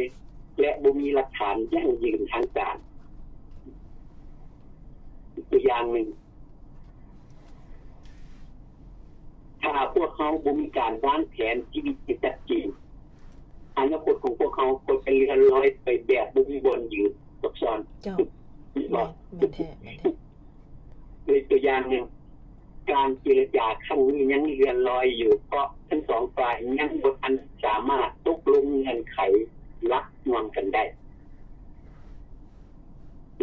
ແລະ ບໍ່ມີຫຼັກຖານຢັ້ງຢືນທາງການ. ຕົວຢ່າງໜຶ່ງ, ຖ້າພວກເຮົາບໍ່ມີການວາງແຜນຊີວິດທີ່ຊັດເຈນ, ອະນາຄົດຂອງພວກເຮົາກໍຈະເລື່ອນລອຍໄປແບບບໍ່ມີບ່ອນຢືນ, ຊັບຊ້ອນ. ເຈົ້າ. ແມ່ນ ແມ່ນແທ້ ແມ່ນແທ້. ຍົກຕົວຢ່າງໜຶ່ງ, ການເຈລະຈາຄັ້ງນີ້ຍັງເລື່ອນລອຍຢູ່ ເພາະທັງສອງຝ່າຍຍັງບໍ່ທັນສາມາດຕົກລົງເງື່ອນໄຂຫຼັກຮ່ວມກັນໄດ້.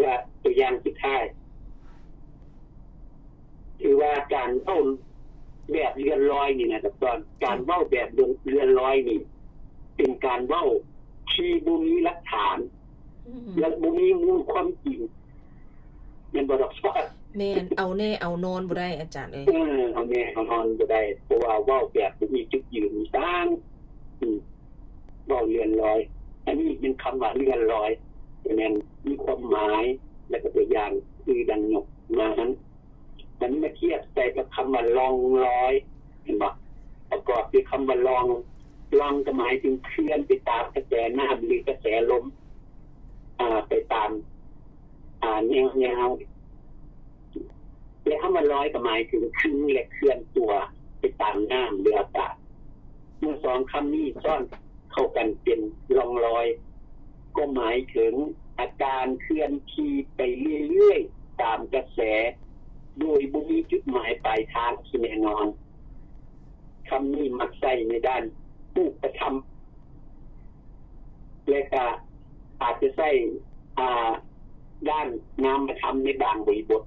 ແລະ ຕົວຢ່າງສຸດທ້າຍ, ຖືວ່າການເວົ້າແບບເລື່ອນລອຍນີ້ນະ ການເວົ້າແບບເລື່ອນລອຍນີ້ ເປັນການເວົ້າທີ່ບໍ່ມີຫຼັກຖານ ອືມ ແລະ ບໍ່ມີມູນຄວາມຈິງ. ແມ່ນບໍ່ດອກຊອດ? ແມ່ນ ເອົາແນ່ເອົານອນບໍ່ໄດ້ອາຈານເອີຍ. ເອີ ເອົາແນ່ເອົານອນບໍ່ໄດ້ ເພາະວ່າເວົ້າແບບບໍ່ມີຈຸດຢືນສ້າງ ອືມ ເວົ້າເລື່ອນລອຍ. ອັນນີ້ແມ່ນຄຳວ່າເລື່ອນລອຍ ແມ່ນມີຄວາມໝາຍ ແລະ ກໍຕົວຢ່າງຄືດັ່ງຍົກມາຫັ້ນ. ມັນມາທຽບໃສ່ກັບຄຳວ່າລ່ອງລອຍ ເຫັນບໍ່? ປະກອບດ້ວຍຄຳວ່າລ່ອງ, ລ່ອງກໍໝາຍເຖິງເຄື່ອນໄປຕາມກະແສນ້ຳ ຫຼື ກະແສລົມ ອາ ໄປຕາມ ອາ ແນວຍາວ ແລະ ຄຳວ່າລອຍກໍໝາຍເຖິງຄືນ ແລະ ເຄື່ອນຕົວໄປຕາມນ້ຳ ຫຼື ອາກາດ. ເມື່ອສອງຄຳນີ້ຊ້ອນເຂົ້າກັນເປັນລ່ອງລອຍ ກໍໝາຍເຖິງອາການເຄື່ອນທີ່ໄປເລື້ອຍໆຕາມກະແສ ໂດຍບໍ່ມີຈຸດໝາຍປາຍທາງທີ່ແນ່ນອນ. ຄຳນີ້ມັກໃຊ້ໃນດ້ານຮູບປະທຳ ແລະ ກະອາດຈະໃຊ້ ອາ ດ້ານນາມະທຳໃນບາງບໍລິບົດ.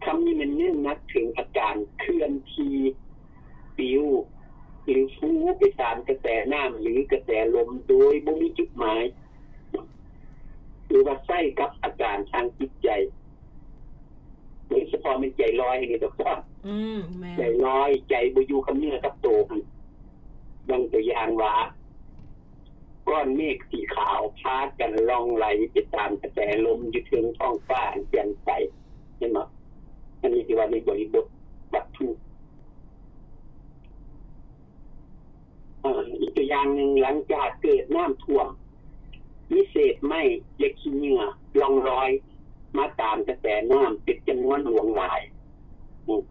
ຄຳນີ້ແມ່ນເນັ້ນໜັກເຖິງອາການເຄື່ອນທີ່ປິວ ຫຼື ຟູໄປຕາມກະແສນ້ຳ ຫຼື ກະແສລົມ ໂດຍບໍ່ມີຈຸດໝາຍ ຫຼືວ່າໃຊ້ກັບອາການທາງຈິດໃຈ ໂດຍສະເພາະແມ່ນໃຈລອຍນີ້ດອກ. ອືມ ແມ່ນ ໃຈລອຍ ໃຈບໍ່ຢູ່ກັບເນື້ອກັບໂຕຫັ້ນ. ດັ່ງຕົວຢ່າງວ່າ ກ້ອນເມກສີຂາວພາກັນລ່ອງໄຫຼໄປຕາມກະແສລົມຢູ່ເທິງທ້ອງຟ້າອັນແຈ່ມໃສ. ເຫັນບໍ່? ອັນນີ້ຖືວ່າໃນບໍລິບົດວັດຖຸ. ອາ ອີກຕົວຢ່າງໜຶ່ງ, ຫຼັງຈາກເກີດນ້ຳຖ້ວມ, ມີເສດໄມ້ ແລະ ຂີ້ເຫຍື້ອລ່ອງລອຍມາຕາມກະແສນ້ຳເປັນຈຳນວນຫຼວງຫຼາຍ. ອາ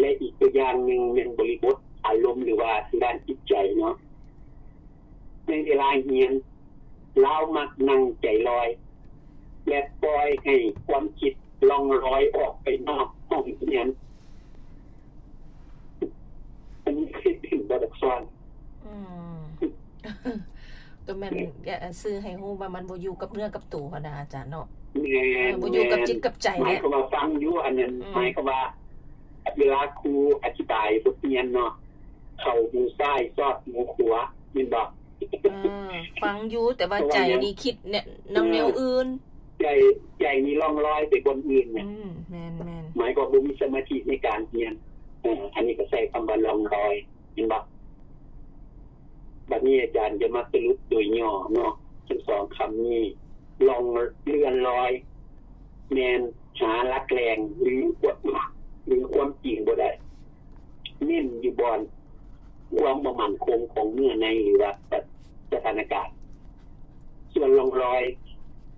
ແລະ ອີກຕົວຢ່າງໜຶ່ງແມ່ນບໍລິບົດ ຫຼືວ່າທາງດ້ານຈິດໃຈເນາະ. ໃນເວລາຮຽນ ລາວມັກນັ່ງໃຈລອຍ ແລະ ປ່ອຍໃຫ້ຄວາມຄິດລ່ອງລອຍອອກໄປນອກຫ້ອງຮຽນ. ອັນນີ້ເຮັດເປັນບໍ່ ດອກຊອນ? ອືມ ກໍແມ່ນ ເອີ ສື່ໃຫ້ຮູ້ວ່າມັນບໍ່ຢູ່ກັບເນື້ອກັບໂຕຫັ້ນນະ ອາຈານເນາະ. ແມ່ນ ເອີ ບໍ່ຢູ່ກັບຈິດກັບໃຈ ໝາຍຄວາມວ່າຟັງຢູ່ ອັນນັ້ນ ອືມ ໝາຍຄວາມວ່າ ເວລາຄູອະທິບາຍບົດຮຽນເນາະ ເຂົ້າຫູຊ້າຍ ສອດຫູຂວາ ແມ່ນບໍ່? ເອີ ຟັງຢູ່ ແຕ່ວ່າໃຈນີ້ຄິດແນວ ນຳແນວອື່ນ ໃຈ ໃຈນີ້ລ່ອງລອຍໄປບ່ອນອື່ນນະ. ອືມ ແມ່ນໆ ໝາຍຄວາມບໍ່ມີສະມາທິໃນການຮຽນ. ເອີ ອັນນີ້ກໍໃຊ້ຄຳວ່າລ່ອງລອຍ ແມ່ນບໍ່? ບັດນີ້ອາຈານຈະມາສະຫຼຸບໂດຍຫຍໍ້ເນາະ ທັງສອງຄຳນີ້ ລ່ອງ ເລື່ອນລອຍ ແມ່ນຫາຫຼັກແຫຼ່ງ ຫຼື ຄວາມ ຫຼື ຄວາມຈິງບໍ່ໄດ້ ເນັ້ນຢູ່ບ່ອນຄວາມບໍ່ໝັ້ນຄົງຂອງເນື້ອໃນ ຫຼືວ່າສະ ສະຖານະການ. ສ່ວນລ່ອງລອຍ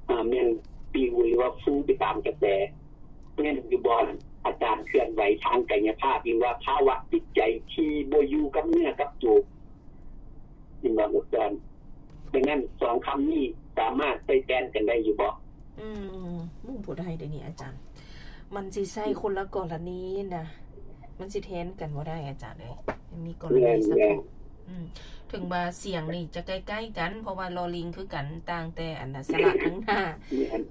ອາ ແມ່ນປິວ ຫຼືວ່າຟູໄປຕາມກະແສ ແມ່ນຢູ່ບ່ອນອາການເຄື່ອນໄຫວທາງກາຍະພາບ ຫຼືວ່າພາວະຈິດໃຈທີ່ບໍ່ຢູ່ກັບເນື້ອກັບໂຕ ເຫັນບໍ່ ອາຈານ? ດັ່ງນັ້ນ ສອງຄຳນີ້ສາມາດໃຊ້ແທນກັນໄດ້ຢູ່ບໍ່? ອືມ ບໍ່ໄດ້ເດນີ້ອາຈານ ມັນຊິໃຊ້ຄົນລະກໍລະນີນະ ມັນຊິແທນກັນບໍ່ໄດ້ອາຈານເອີຍ ມີກໍລະນີສະເພາະ. ອືມ ເຖິງວ່າສຽງນີ້ຈະໃກ້ໆກັນ ເພາະວ່າລໍລິງຄືກັນ ຕ່າງແຕ່ອັນນະ ສະຫຼະທາງໜ້າ.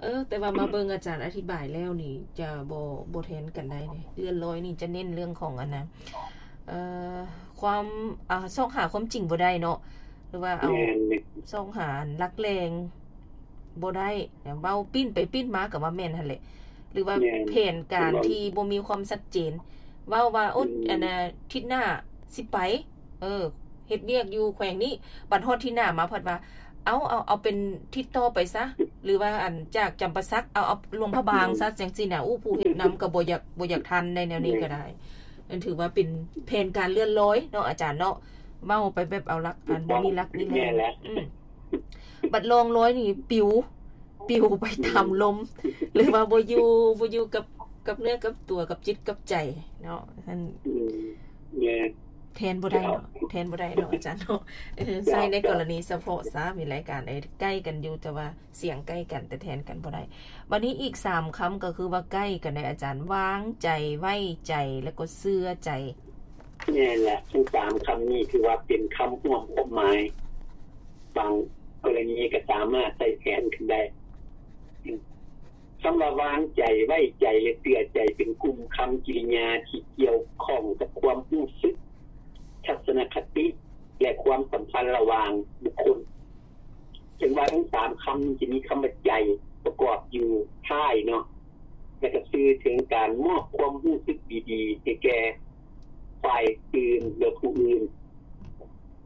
ເອີ ແຕ່ວ່າມາເບິ່ງອາຈານອະທິບາຍແລ້ວນີ້ ຈະບໍ່ ບໍ່ແທນກັນໄດ້ເດ ເລື່ອນລອຍນີ້ຈະເນັ້ນເລື່ອງຂອງອັນນະ ເອີ ຄວາມ ອາ ຊອກຫາຄວາມຈິງບໍ່ໄດ້ເນາະ ຫຼືວ່າເອົາ ແມ່ນໆ ຊອກຫາອັນຫຼັກແຫຼ່ງບໍ່ໄດ້ ເວົ້າປີ້ນໄປປີ້ນມາກໍວ່າແມ່ນຫັ້ນແຫຼະ ຫຼືວ່າ ແມ່ນ ແຜນການທີ່ບໍ່ມີຄວາມຊັດເຈນ ເວົ້າວ່າ ໂອ້ ອືມ ອັນນະ ທິດໜ້າຊິໄປ ເອີ ເຮັດວຽກຢູ່ແຂວງນີ້ ບັດຮອດທິດໜ້າມາພັດວ່າ ເອົາ ເອົາ ເອົາເປັນທິດຕໍ່ໄປຊະ ຫຼືວ່າອັນຈາກຈຳປາສັກ ເອົາ ເອົາຫຼວງພະບາງຊະ ອືມ ຈັ່ງຊີ້ນະ. ໂອ້ ຜູ້ເຮັດນຳກໍບໍ່ຢາກ ບໍ່ຢາກທັນໃນແນວນີ້ກໍໄດ້ ແມ່ນ ນັ້ນຖືວ່າເປັນແຜນການເລື່ອນລອຍເນາະອາຈານເນາະ ເວົ້າໄປແບບເອົາຫຼັກ ອັນບໍ່ມີຫຼັກມີແຫຼ່ງ ແມ່ນແຫຼະ ອືມ ບັດລ່ອງລອຍນີ້ປິວ ປິວໄປຕາມລົມ ອືມ ຫຼືວ່າບໍ່ຢູ່ ບໍ່ຢູ່ກັບ ກັບເນື້ອກັບຕົວ ກັບຈິດກັບໃຈເນາະ ນັ້ນ ອືມ ແມ່ນ ແທນບໍ່ໄດ້ເນາະ ແທນບໍ່ໄດ້ເນາະອາຈານເນາະ ເອີ ເຈົ້າ ໃຊ້ໃນກໍລະນີສະເພາະຊະ ມີລາຍການໃດໃກ້ກັນຢູ່ ແຕ່ວ່າສຽງໃກ້ກັນ ແຕ່ແທນກັນບໍ່ໄດ້. ບັດນີ້ອີກສາມຄຳກໍຄືວ່າໃກ້ກັນເດອາຈານ ວາງໃຈ ໄວ້ໃຈ ແລ້ວກໍເຊື່ອໃຈ. ແມ່ນແຫຼະ ທັງສາມຄຳນີ້ຖືວ່າເປັນຄຳຮ່ວມຄວາມໝາຍ ບາງກໍລະນີກໍສາມາດໃຊ້ແທນກັນໄດ້. ຄຳວ່າວາງໃຈ, ໄວ້ໃຈ ແລະ ເຊື່ອໃຈ ເປັນກຸ່ມຄຳກິລິຍາທີ່ກ່ຽວຂ້ອງກັບຄວາມຮູ້ສຶກ, ທັດສະນະຄະຕິ ແລະ ຄວາມສຳພັນລະຫວ່າງບຸກຄົນ. ເຖິງວ່າທັງສາມຄຳນີ້ຈະມີຄຳວ່າໃຈປະກອບຢູ່ທ້າຍເນາະ, ແລະ ກະສື່ເຖິງການມອບຄວາມຮູ້ສຶກດີໆໃຫ້ແກ່ຝ່າຍອື່ນ ຫຼື ຜູ້ອື່ນ.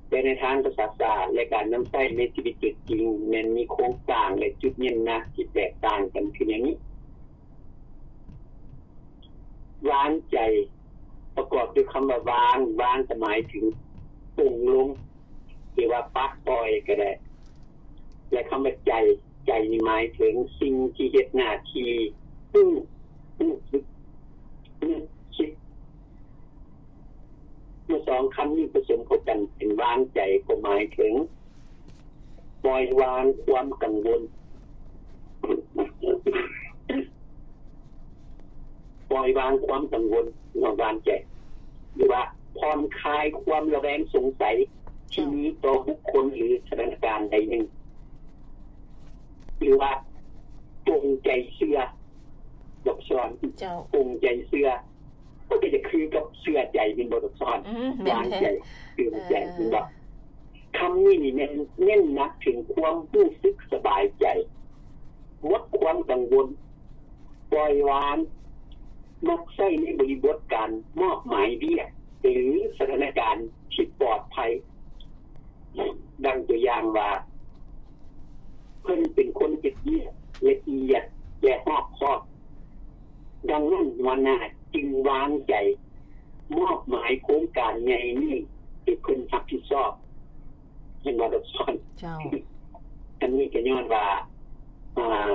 ແຕ່ໃນທາງພາສາສາດ ແລະ ການນຳໃຊ້ໃນຊີວິດຕົວຈິງ ແມ່ນມີໂຄງສ້າງ ແລະ ຈຸດເນັ້ນໜັກທີ່ແຕກຕ່າງກັນຄືແນວນີ້. ວາງໃຈ ປະກອບດ້ວຍຄຳວ່າວາງ, ວາງກໍໝາຍເຖິງປົງລົງ ຫຼືວ່າປະປ່ອຍກໍໄດ້ ແລະ ຄຳວ່າໃຈ, ໃຈນີ້ໝາຍເຖິງສິ່ງທີ່ເຮັດໜ້າທີ່ຮູ້, ຮູ້ສຶກ, ນຶກຄິດ. ເມື່ອສອງຄຳນີ້ປະສົມເຂົ້າກັນເປັນວາງໃຈ ກໍໝາຍເຖິງປ່ອຍວາງຄວາມກັງວົນ, ປ່ອຍວາງຄວາມກັງວົນ ເນາະ ວາງໃຈ ຫຼືວ່າຜ່ອນຄາຍຄວາມລະແວງສົງໄສທີ່ມີຕໍ່ບຸກຄົນ ຫຼື ສະຖານະການໃດໜຶ່ງ ຫຼືວ່າປົງໃຈເຊື່ອ ດອກຊອນ ເຈົ້າ ປົງໃຈເຊື່ອ ມັນກໍຈະຄືກັບເຊື່ອໃຈແມ່ນບໍ່ ດອກຊອນ? ອືມ ແມ່ນ ວາງໃຈ ເຊື່ອໃຈ ເອີ ແມ່ນບໍ່? ຄຳນີ້ນີ້ແມ່ນເນັ້ນໜັກເຖິງຄວາມຮູ້ສຶກສະບາຍໃຈ, ໝົດຄວາມກັງວົນ, ປ່ອຍວາງ, ມັກໃຊ້ໃນບໍລິບົດການມອບໝາຍວຽກ ຫຼື ສະຖານະການທີ່ປອດໄພ. ດັ່ງຕົວຢ່າງວ່າ ເພິ່ນເປັນຄົນເຮັດວຽກລະອຽດ ແລະ ຮອບຄອບ. ດັ່ງນັ້ນ ຫົວໜ້າຈຶ່ງວາງໃຈມອບໝາຍໂຄງການໃຫຍ່ນີ້ໃຫ້ເພິ່ນຮັບຜິດຊອບ. ເຫັນບໍ່ ດອກຊອນ? ເຈົ້າ. ອັນນີ້ກໍຍ້ອນວ່າ ອ່າ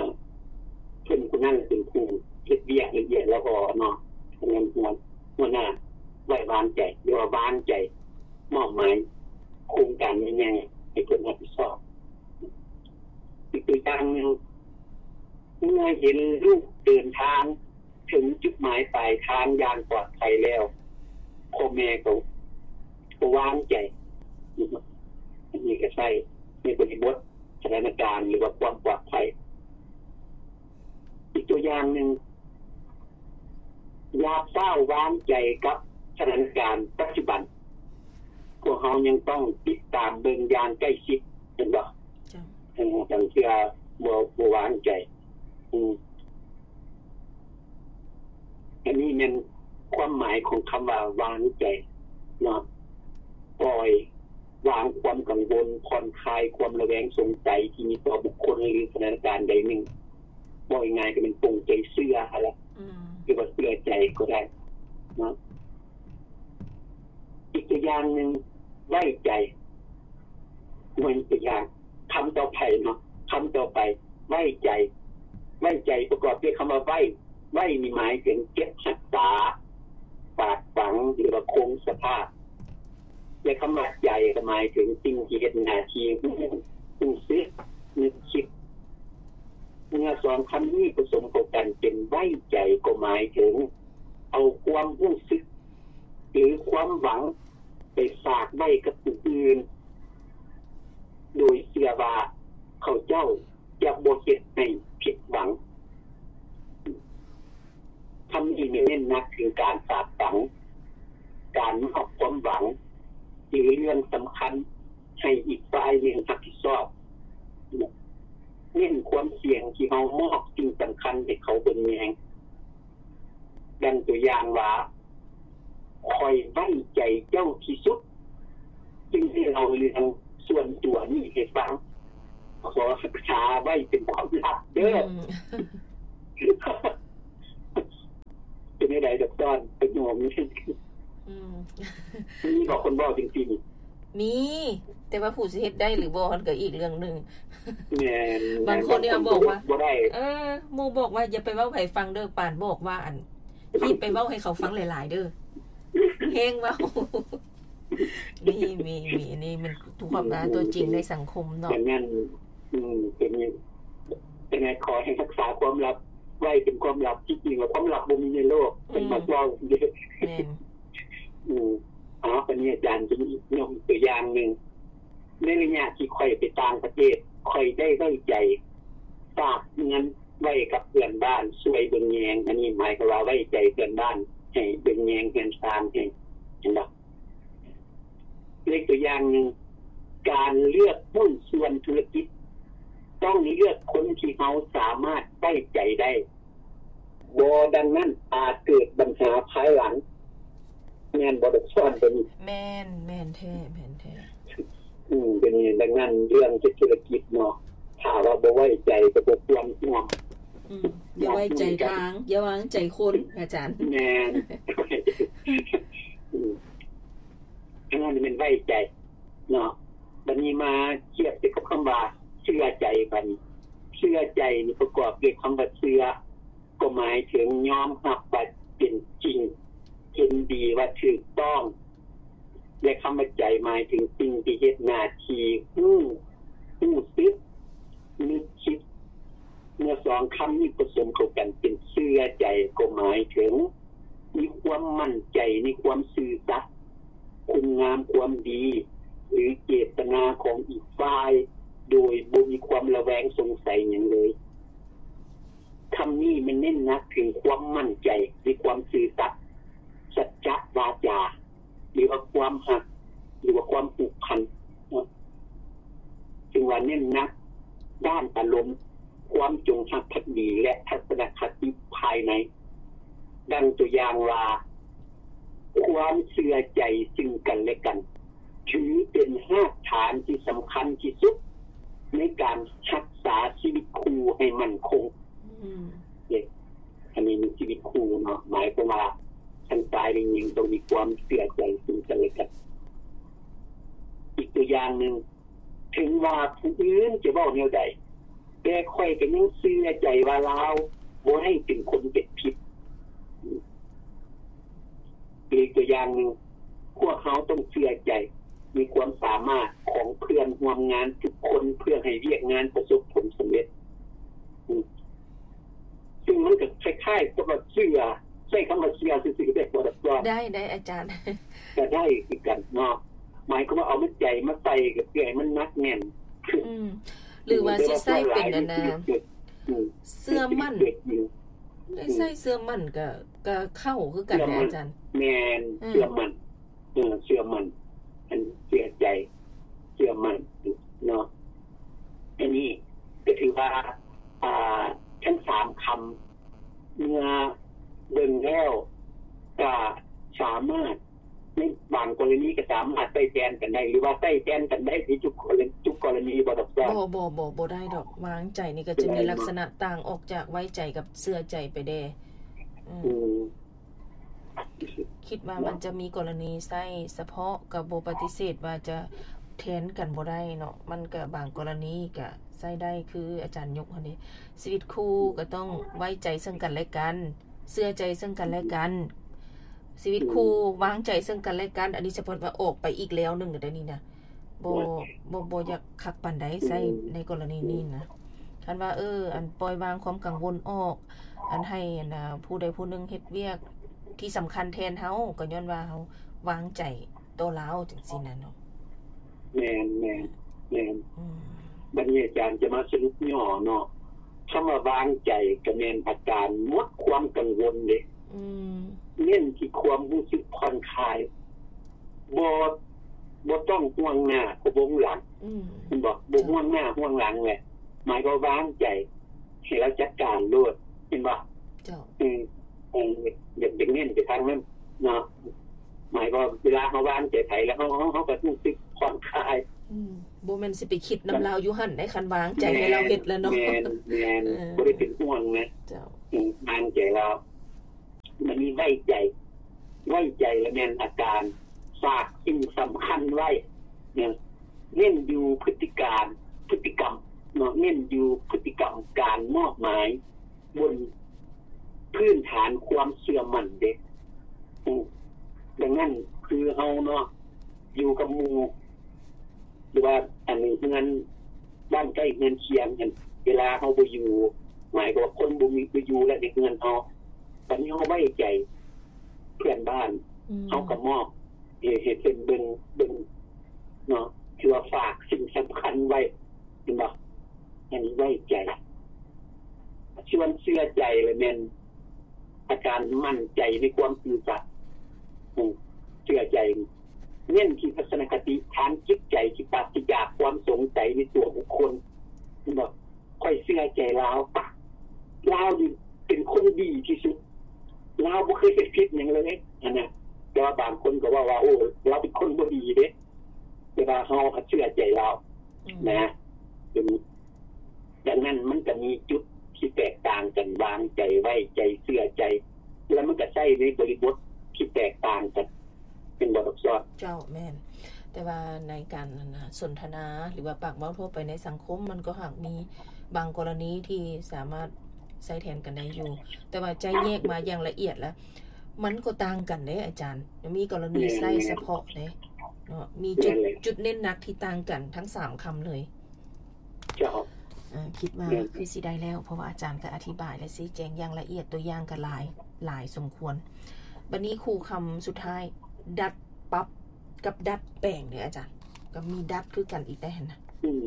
ເພິ່ນຜູ້ນັ້ນເປັນຜູ້ເຮັດວຽກລະອຽດລະອໍເນາະ. ອັນນັ້ນ ຫົວ ຫົວໜ້າໄວ້ວາງໃຈ ຫຼືວ່າວາງໃຈ ມອບໝາຍໂຄງການໃຫຍ່ໆໃຫ້ເພິ່ນຮັບຜິດຊອບ. ອີກຕົວຢ່າງໜຶ່ງ, ເມື່ອເຫັນລູກເດີນທາງເຖິງຈຸດໝາຍປາຍທາງຢ່າງປອດໄພແລ້ວ, ພໍ່ແມ່ກໍ ກໍວາງໃຈ. ອັນນີ້ກໍໃຊ້ໃນບໍລິບົດສະຖານະການ ຫຼືວ່າຄວາມປອດໄພ. ອີກຕົວຢ່າງໜຶ່ງ, ຢ່າຟ້າວວາງໃຈກັບສະຖານະການປັດຈຸບັນ. ພວກເຮົາຍັງຕ້ອງຕິດຕາມເບິ່ງຢ່າງໃກ້ຊິດ, ແມ່ນບໍ່? ເຈົ້າ. ເອີ, ບາງເທື່ອບໍ່, ບໍ່ວາງໃຈ. ອືມ. ອັນນີ້ແມ່ນຄວາມໝາຍຂອງຄຳວ່າວາງໃຈເນາະ, ປ່ອຍວາງຄວາມກັງວົນ, ຜ່ອນຄາຍຄວາມລະແວງສົງໄສທີ່ມີຕໍ່ບຸກຄົນ ຫຼື ສະຖານະການໃດໜຶ່ງ. ເວົ້າງ່າຍໆກໍແມ່ນປົງໃຈເຊື່ອຫັ້ນລະ, ອືມ. ຫຼືວ່າເຊື່ອໃຈກໍໄດ້ເນາະ. ອີກຕົວຢ່າງໜຶ່ງ, ໄວ້ໃຈ. ເບິ່ງຕົວຢ່າງຄຳຕໍ່ໄປເນາະ, ຄຳຕໍ່ໄປ, ໄວ້ໃຈ. ໄວ້ໃຈປະກອບດ້ວຍຄຳວ່າໄວ້. ໄວ້ນີ້ໝາຍເຖິງເກັບຮັກສາ, ຝາກຝັງ ຫຼືວ່າຄົງສະພາບ. ແລະ ຄຳວ່າໃຈກໍໝາຍເຖິງສິ່ງທີ່ເຮັດໜ້າທີ່ຮູ້, ຮູ້ສຶກ, ນຶກຄິດ. ເມື່ອສອງຄຳນີ້ປະສົມເຂົ້າກັນເປັນໄວ້ໃຈ ກໍໝາຍເຖິງເອົາຄວາມຮູ້ສຶກ ຫຼື ຄວາມຫວັງໄປຝາກໄວ້ກັບຜູ້ອື່ນ ໂດຍເຊື່ອວ່າເຂົາເຈົ້າຈະບໍ່ເຮັດໃຫ້ຜິດຫວັງ. ຄຳນີ້ແມ່ນເນັ້ນໜັກເຖິງການຝາກຝັງ, ການມອບຄວາມຫວັງ ຫຼື ເລື່ອງສຳຄັນໃຫ້ອີກຝ່າຍໜຶ່ງຮັບຜິດຊອບ. ເນັ້ນຄວາມສ່ຽງທີ່ເຮົາມອບສິ່ງສຳຄັນໃຫ້ເຂົາເບິ່ງແຍງ. ດັ່ງຕົວຢ່າງວ່າ, ຂ້ອຍໄວ້ໃຈເຈົ້າທີ່ສຸດ, ຈຶ່ງໄດ້ເລົ່າເລື່ອງສ່ວນຕົວນີ້ໃຫ້ຟັງ. ຂໍຮັກສາໄວ້ເປັນຄວາມລັບເດີ້. ອືມ. ເປັນແນວໃດດອກຕອນ ປະໂຫຍກນີ້? ອືມ. ມີບໍ່ຄົນເວົ້າຈັ່ງຊີ້? ມີ, ແຕ່ວ່າຜູ້ຊິເຮັດໄດ້ຫຼືບໍ່ ຫັ້ນກໍອີກເລື່ອງໜຶ່ງ. ແມ່ນ, ບາງຄົນນີ້ບອກວ່າ ບໍ່ໄດ້. ເອີ, ໝູ່ບອກວ່າ ຢ່າໄປເວົ້າໃຜຟັງເດີ້, ປານບອກວ່າ ອັນ ຮີບໄປເວົ້າໃຫ້ເຂົາຟັງຫຼາຍໆເດີ້, ແຮງເວົ້າ. ມີ, ມີ, ມີ, ອັນນີ້ມັນຄວາມ ຕົວຈິງໃນສັງຄົມເນາະ. ແມ່ນ, ອືມ, ເປັນ, ເປັນໄງ, ຂໍໃຫ້ຮັກສາຄວາມລັບໄວ້ເປັນຄວາມລັບ. ທີ່ຈິງແລ້ວຄວາມລັບບໍ່ມີໃນໂລກ, ເພິ່ນມັກເວົ້າເດ້. ແມ່ນ. ອືມ, ເອົາ, ບັດນີ້ອາຈານຈະຍົກຕົວຢ່າງໜຶ່ງ. ໃນໄລຍະທີ່ຂ້ອຍໄປຕ່າງປະເທດ, ຂ້ອຍໄດ້ໄວ້ໃຈຝາກເງິນໄວ້ກັບເພື່ອນບ້ານຊ່ວຍເບິ່ງແຍງ. ອັນນີ້ໝາຍຄວາມວ່າໄວ້ໃຈເພື່ອນບ້ານໃຫ້ເບິ່ງແຍງເຮືອນຊານໃຫ້, ເຫັນບໍ່? ເລີກຕົວຢ່າງໜຶ່ງ, ການເລືອກຫຸ້ນສ່ວນທຸລະກິດ ຕ້ອງເລືອກຄົນທີ່ເຮົາສາມາດໄວ້ໃຈໄດ້. ບໍ່ດັ່ງນັ້ນອາດເກີດບັນຫາພາຍຫຼັງ. ແມ່ນບໍ່ດອກສອນຕົວນີ້? ແມ່ນ, ແມ່ນແທ້, ແມ່ນແທ້. ອືມ, ຕົວນີ້, ດັ່ງນັ້ນເລື່ອງເຮັດທຸລະກິດເນາະ, ຖ້າວ່າບໍ່ໄວ້ໃຈກໍບໍ່ຄວນຮ່ວມ. ອືມ, ຢ່າໄວ້ໃຈທາງ, ຢ່າວາງໃຈຄົນ, ອາຈານ. ແມ່ນ. ອືມ, ອັນນັ້ນແມ່ນໄວ້ໃຈເນາະ. ບັດນີ້ມາທຽບໃສ່ກັບຄຳວ່າເຊື່ອໃຈ. ບັດນີ້ເຊື່ອໃຈນີ້ປະກອບດ້ວຍຄຳວ່າເຊື່ອ ກໍໝາຍເຖິງຍອມຮັບວ່າເປັນຈິງ, ເຫັນດີວ່າຖືກຕ້ອງ ແລະ ຄຳວ່າໃຈໝາຍເຖິງສິ່ງທີ່ເຮັດໜ້າທີ່ຮູ້, ຮູ້ສຶກ, ນຶກຄິດ. ເມື່ອສອງຄຳນີ້ປະສົມເຂົ້າກັນເປັນເຊື່ອໃຈ ກໍໝາຍເຖິງມີຄວາມໝັ້ນໃຈໃນຄວາມຊື່ສັດ, ຄຸນງາມຄວາມດີ ຫຼື ເຈດຕະນາຂອງອີກຝ່າຍ ໂດຍບໍ່ມີຄວາມລະແວງສົງໄສຫຍັງເລີຍ. ຄຳນີ້ມັນເນັ້ນໜັກເຖິງຄວາມໝັ້ນໃຈໃນຄວາມຊື່ສັດ, ສັດຈະວາຈາ ຫຼືວ່າຄວາມຮັກ ຫຼືວ່າຄວາມຜູກພັນເນາະ. ຈຶ່ງວ່າເນັ້ນໜັກດ້ານອາລົມ, ຄວາມຈົງຮັກພັກດີ ແລະ ທັດສະນະຄະຕິພາຍໃນ. ດັ່ງຕົວຢ່າງວ່າ, ຄວາມເຊື່ອໃຈຊຶ່ງກັນແລະກັນ ຖືເປັນຮາກຖານທີ່ສຳຄັນທີ່ສຸດໃນການຮັກສາຊີວິດຄູ່ໃຫ້ໝັ້ນຄົງ. ອືມ. ເດ້. ອັນນີ້ມີຊີວິດຄູ່ເນາະ, ໝາຍຄວາມວ່າທັງຊາຍແລະຍິງຕ້ອງມີຄວາມເຊື່ອໃຈຊຶ່ງກັນແລະກັນ. ອີກຕົວຢ່າງໜຶ່ງ, ເຖິງວ່າຜູ້ອື່ນຈະເວົ້າແນວໃດ, ແຕ່ຂ້ອຍກໍຍັງເຊື່ອໃຈວ່າລາວບໍ່ໄດ້ເປັນຄົນເຮັດຜິດ. ອີກຕົວຢ່າງໜຶ່ງ, ພວກເຮົາຕ້ອງເຊື່ອ ໃຈ ມີຄວາມສາມາດຂອງເພື່ອນຮ່ວມງານທຸກຄົນ ເພື່ອໃຫ້ວຽກງານປະສົບຜົນສຳເລັດ. ອືມ ຊຶ່ງມັນກໍຄ້າຍໆກັບວ່າເຊື່ອ ໃຊ້ຄຳວ່າເຊື່ອຊື່ໆ ກໍໄດ້ບໍ່? ໄດ້ ໄດ້ອາຈານ ກໍໄດ້ຄືກັນເນາະ. ໝາຍຄວາມວ່າເອົາໃຈມາໃສ່ ກໍເພື່ອໃຫ້ມັນໜັກແໜ້ນ. ອືມ ຫຼືວ່າຊິໃຊ້ເປັນອັນນ່າ ອືມ ເຊື່ອໝັ້ນ ໄດ້ໃຊ້ເຊື່ອໝັ້ນ ກໍ ກໍເຂົ້າຄືກັນເດ້ອາຈານ. ແມ່ນ ອືມ ເຊື່ອໝັ້ນ ເອີ ເຊື່ອໝັ້ນ ອັນເຊື່ອໃຈ ເຊື່ອໝັ້ນເນາະ. ອັນນີ້ກໍຖືວ່າ ອ່າ ທັງສາມຄຳ ເມື່ອເບິ່ງແລ້ວ ກໍສາມາດ ໃນບາງກໍລະນີກໍສາມາດໃຊ້ແທນກັນໄດ້ ຫຼືວ່າໃຊ້ແທນກັນໄດ້ໃນທຸກກໍລະ ທຸກກໍລະນີບໍ່ດອກ? ບໍ່ ບໍ່ ບໍ່ ບໍ່ໄດ້ດອກ. ວາງໃຈນີ້ກໍຈະມີລັກສະນະຕ່າງອອກຈາກໄວ້ໃຈກັບເຊື່ອໃຈໄປແດ່. ອືມ ອືມ ຄິດວ່າມັນຈະມີກໍລະນີໃຊ້ສະເພາະ ກໍບໍ່ປະຕິເສດວ່າຈະແທນກັນບໍ່ໄດ້ເນາະ. ມັນກໍບາງກໍລະນີກໍໃຊ້ໄດ້ ຄືອາຈານຍົກຫັ້ນເດ ຊີວິດຄູ່ກໍຕ້ອງໄວ້ໃຈເຊິ່ງກັນແລະກັນ ເຊື່ອໃຈເຊິ່ງກັນແລະກັນ ຊີວິດຄູ່ ອືມ ວາງໃຈເຊິ່ງກັນແລະກັນ. ອັນນີ້ສະເພາະວ່າອອກໄປອີກແລວໜຶ່ງເດ້ນີ້ນະ. ບໍ່ ບໍ່ ບໍ່ຢາກຄັກປານໃດໃຊ້ ອືມ ໃນກໍລະນີນີ້ນະ. ຄັນວ່າ ເອີ ອັນປ່ອຍວາງຄວາມກັງວົນອອກ ອັນໃຫ້ອັນ ອ່າ ຜູ້ໃດຜູ້ໜຶ່ງເຮັດວຽກທີ່ສຳຄັນແທນເຮົາ ກໍຍ້ອນວ່າເຮົາວາງໃຈຕໍ່ລາວຈັ່ງຊີ້ນະເນາະ. ແມ່ນ ແມ່ນ ແມ່ນ. ອືມ ບັດນີ້ອາຈານຈະມາສະຫຼຸບຫຍໍ້ເນາະ. ຄຳວ່າວາງໃຈກໍແມ່ນອາການໝົດຄວາມກັງວົນເດ້. ອືມ ເນັ້ນທີ່ຄວາມຮູ້ສຶກຜ່ອນຄາຍ ບໍ່ ບໍ່ຕ້ອງຫ່ວງໜ້າກັບຫ່ວງຫຼັງ. ອືມ ແມ່ນບໍ່? ບໍ່ຫ່ວງໜ້າຫ່ວງຫຼັງແຫຼະ ໝາຍຄວາມວ່າວາງໃຈໃຫ້ລາວຈັດການໂລດ ແມ່ນບໍ່? ເຈົ້າ ອືມ ເອີ ຢາກ ຢາກເນັ້ນໄປທາງນັ້ນເນາະ. ໝາຍຄວາມວ່າເວລາເຮົາວາງໃຈໃຜແລ້ວ ເຮົາ ເຮົາ ເຮົາກໍຮູ້ສຶກຜ່ອນຄາຍ. ອືມ ບໍ່ແມ່ນຊິໄປຄິດນຳລາວຢູ່ຫັ້ນໃດ໋ ຄັນວາງໃຈໃຫ້ລາວເຮັດແລ້ວເນາະ. ແມ່ນ ແມ່ນ ເອີ ບໍ່ໄດ້ເປັນຫ່ວງນະ. ເຈົ້າ ອືມ ວາງໃຈລາວ ມັນມີໄວ້ໃຈ ໄວ້ໃຈລະແມ່ນອາການຝາກສິ່ງສຳຄັນໄວ້ນະ ເນັ້ນຢູ່ພຶດຕິການ ພຶດຕິກຳເນາະ ເນັ້ນຢູ່ພຶດຕິກຳການມອບໝາຍບົນພື້ນຖານຄວາມເຊື່ອໝັ້ນເດ້. ອື ດັ່ງນັ້ນຄືເຮົາເນາະ ຢູ່ກັບໝູ່ ຫຼືວ່າອັນເຮືອນບ້ານໃກ້ເຮືອນຄຽງຫັ້ນ ເວລາເຮົາບໍ່ຢູ່ ໝາຍຄວາມວ່າຄົນບໍ່ມີ ບໍ່ຢູ່ແລ້ວໃນເຮືອນເຮົາ ບັດນີ້ເຮົາໄວ້ໃຈເພື່ອນບ້ານ ອືມ ເຮົາກໍມອບໃຫ້ ໃຫ້ເພິ່ນເບິ່ງ ເບິ່ງເນາະ ຖືວ່າຝາກສິ່ງສຳຄັນໄວ້ ແມ່ນບໍ່? ອັນນີ້ໄວ້ໃຈ. ສ່ວນເຊື່ອໃຈລະແມ່ນອາການໝັ້ນໃຈໃນຄວາມຊື່ສັດ ອືມ ເຊື່ອໃຈ ເນັ້ນທີ່ທັດສະນະຄະຕິທາງຈິດໃຈທີ່ປາສຈາກຄວາມສົງໄສໃນຕົວບຸກຄົນ ເຫັນບໍ່? ຂ້ອຍເຊື່ອໃຈລາວ ລາວນີ້ເປັນຄົນດີທີ່ສຸດ ລາວບໍ່ເຄີຍເຮັດຜິດຫຍັງເລີຍຫັ້ນນະ. ແຕ່ວ່າບາງຄົນກໍເວົ້າວ່າ ໂອ້ ລາວເປັນຄົນບໍ່ດີເດ້ ແຕ່ວ່າເຮົາເຊື່ອໃຈລາວ ອືມ ນະ ເປັນ ດັ່ງນັ້ນມັນກໍມີຈຸດທີ່ແຕກຕ່າງກັນ ວາງໃຈ ໄວ້ໃຈ ເຊື່ອໃຈ ແລ້ວມັນກໍໃຊ້ໃນບໍລິບົດທີ່ແຕກຕ່າງກັນ ເປັນບໍ່ ດອກຊອດ? ເຈົ້າ ແມ່ນ. ແຕ່ວ່າໃນການ ອັນນ່າ ສົນທະນາ ຫຼືວ່າປາກເວົ້າທົ່ວໄປໃນສັງຄົມ ມັນກໍຫາກມີບາງກໍລະນີທີ່ສາມາດໃຊ້ແທນກັນໄດ້ຢູ່ ແຕ່ວ່າຈະແຍກມາຢ່າງລະອຽດລະ ມັນກໍຕ່າງກັນເດ້ອາຈານ. ມີກໍລະນີໃຊ້ສະເພາະເດ້ເນາະ ມີຈຸດ ແມ່ນແຫຼະ ຈຸດເນັ້ນໜັກທີ່ຕ່າງກັນທັງສາມຄຳເລີຍ. ເຈົ້າ ເອີ ຄິດວ່າ ແມ່ນ ຄືຊິໄດ້ແລ້ວ ເພາະວ່າອາຈານກໍອະທິບາຍ ແລະ ຊີ້ແຈງຢ່າງລະອຽດ ຕົວຢ່າງກໍຫຼາຍ ຫຼາຍສົມຄວນ. ບັດນີ້ຄູ່ຄຳສຸດທ້າຍ ດັດປັບກັບດັດແປງເດ້ອາຈານ ກໍມີດັດຄືກັນອີກໄດ໋ຫັ້ນນະ. ອືມ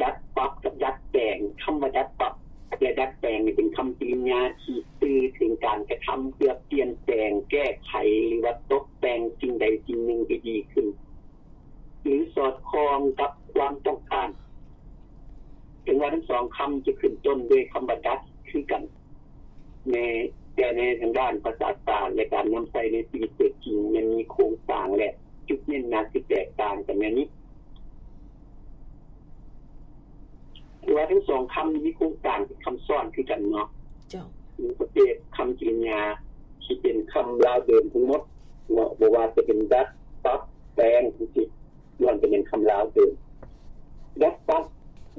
ດັດປັບກັບດັດແປງ ຄຳວ່າດັດປັບ ແລະ ດັດແປງນີ້ເປັນຄຳກິລິຍາທີ່ສື່ເຖິງການກະທຳເພື່ອປ່ຽນແປງ ແກ້ໄຂ ຫຼືວ່າຕົບແຕ່ງສິ່ງໃດສິ່ງໜຶ່ງໃຫ້ດີຂຶ້ນ ຫຼື ສອດຄ່ອງກັບຄວາມຕ້ອງການ. ເຖິງວ່າທັງສອງຄຳຈະຂຶ້ນຕົ້ນດ້ວຍຄຳວ່າດັດຄືກັນ ແຕ່ໃນທາງດ້ານພາສາສາດ ແລະ ການນຳໃຊ້ໃນຊີວິດຕົວຈິງ ມັນມີໂຄງສ້າງ ແລະ ຈຸດເນັ້ນໜັກທີ່ແຕກຕ່າງກັນແນວນີ້. ຖືວ່າທັງສອງຄຳນີ້ມີໂຄງສ້າງເປັນຄຳຊ້ອນຄືກັນເນາະ. ເຈົ້າ. ມີປະເພດຄຳກິລິຍາທີ່ເປັນຄຳລາວເດີມທັງໝົດເນາະ ບໍ່ວ່າຈະເປັນດັດ, ປັບ, ແປງ ຈັ່ງຊີ້ ລ້ວນແຕ່ເປັນຄຳລາວເດີມ. ດັດປັບ,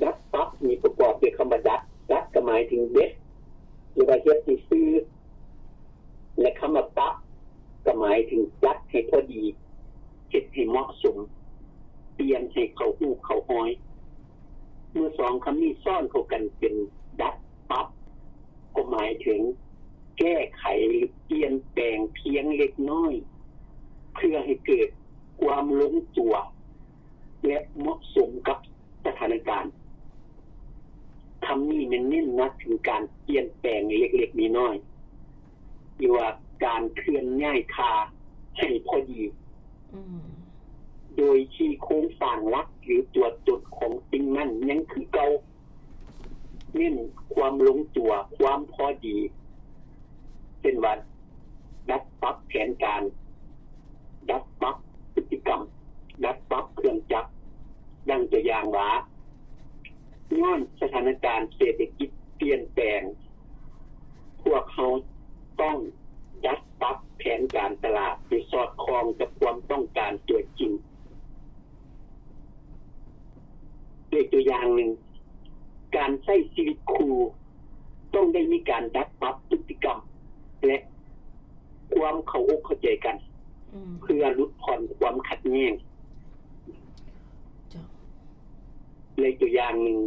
ດັດປັບນີ້ປະກອບດ້ວຍຄຳວ່າດັດ, ດັດກໍໝາຍເຖິງເດັດ ຫຼືວ່າເຮັດໃຫ້ຊື່ ແລະ ຄຳວ່າປັບກໍໝາຍເຖິງຈັດໃຫ້ພໍດີ, ເຮັດໃຫ້ ເໝາະສົມ, ປ່ຽນໃຫ້ເຂົ້າຮູບເຂົ້າຮອຍ. ເມື່ອສອງຄຳນີ້ຊ້ອນເຂົ້າກັນເປັນດັດປັບ ກໍໝາຍເຖິງແກ້ໄຂ ຫຼື ປ່ຽນແປງພຽງເລັກນ້ອຍ ເພື່ອໃຫ້ເກີດຄວາມລົງຕົວ ແລະ ເໝາະສົມກັບສະຖານະການ. ຄຳນີ້ແມ່ນເນັ້ນໜັກເຖິງການປ່ຽນແປງເລັກໆນ້ອຍໆ ຫຼືວ່າການເຄື່ອນຍ້າຍທ່າໃຫ້ພໍດີ ອືມ ໂດຍທີ່ໂຄງສ້າງຫຼັກ ຫຼື ຕົວຕົນຂອງສິ່ງນັ້ນຍັງຄືເກົ່າ, ເນັ້ນຄວາມລົງຕົວ, ຄວາມພໍດີ, ເຊັ່ນວ່າ ດັດປັບແຜນການ, ດັດປັບພຶດຕິກຳ, ດັດປັບເຄື່ອງຈັກ. ດັ່ງຕົວຢ່າງວ່າ, ຍ້ອນສະຖານະການເສດຖະກິດປ່ຽນແປງ, ພວກເຮົາຕ້ອງດັດປັບແຜນການຕະຫຼາດໃຫ້ສອດຄ່ອງກັບຄວາມຕ້ອງການຕົວຈິງ. ຍົກຕົວຢ່າງໜຶ່ງ, ການໃຊ້ຊີວິດຄູ່ຕ້ອງໄດ້ມີການດັດປັບພຶດຕິກຳ ແລະ ຄວາມເຂົ້າອົກເຂົ້າໃຈກັນ ອືມ ເພື່ອຫຼຸດຜ່ອນຄວາມຂັດແຍ່ງ. ເຈົ້າ. ໃນຕົວຢ່າງໜຶ່ງ,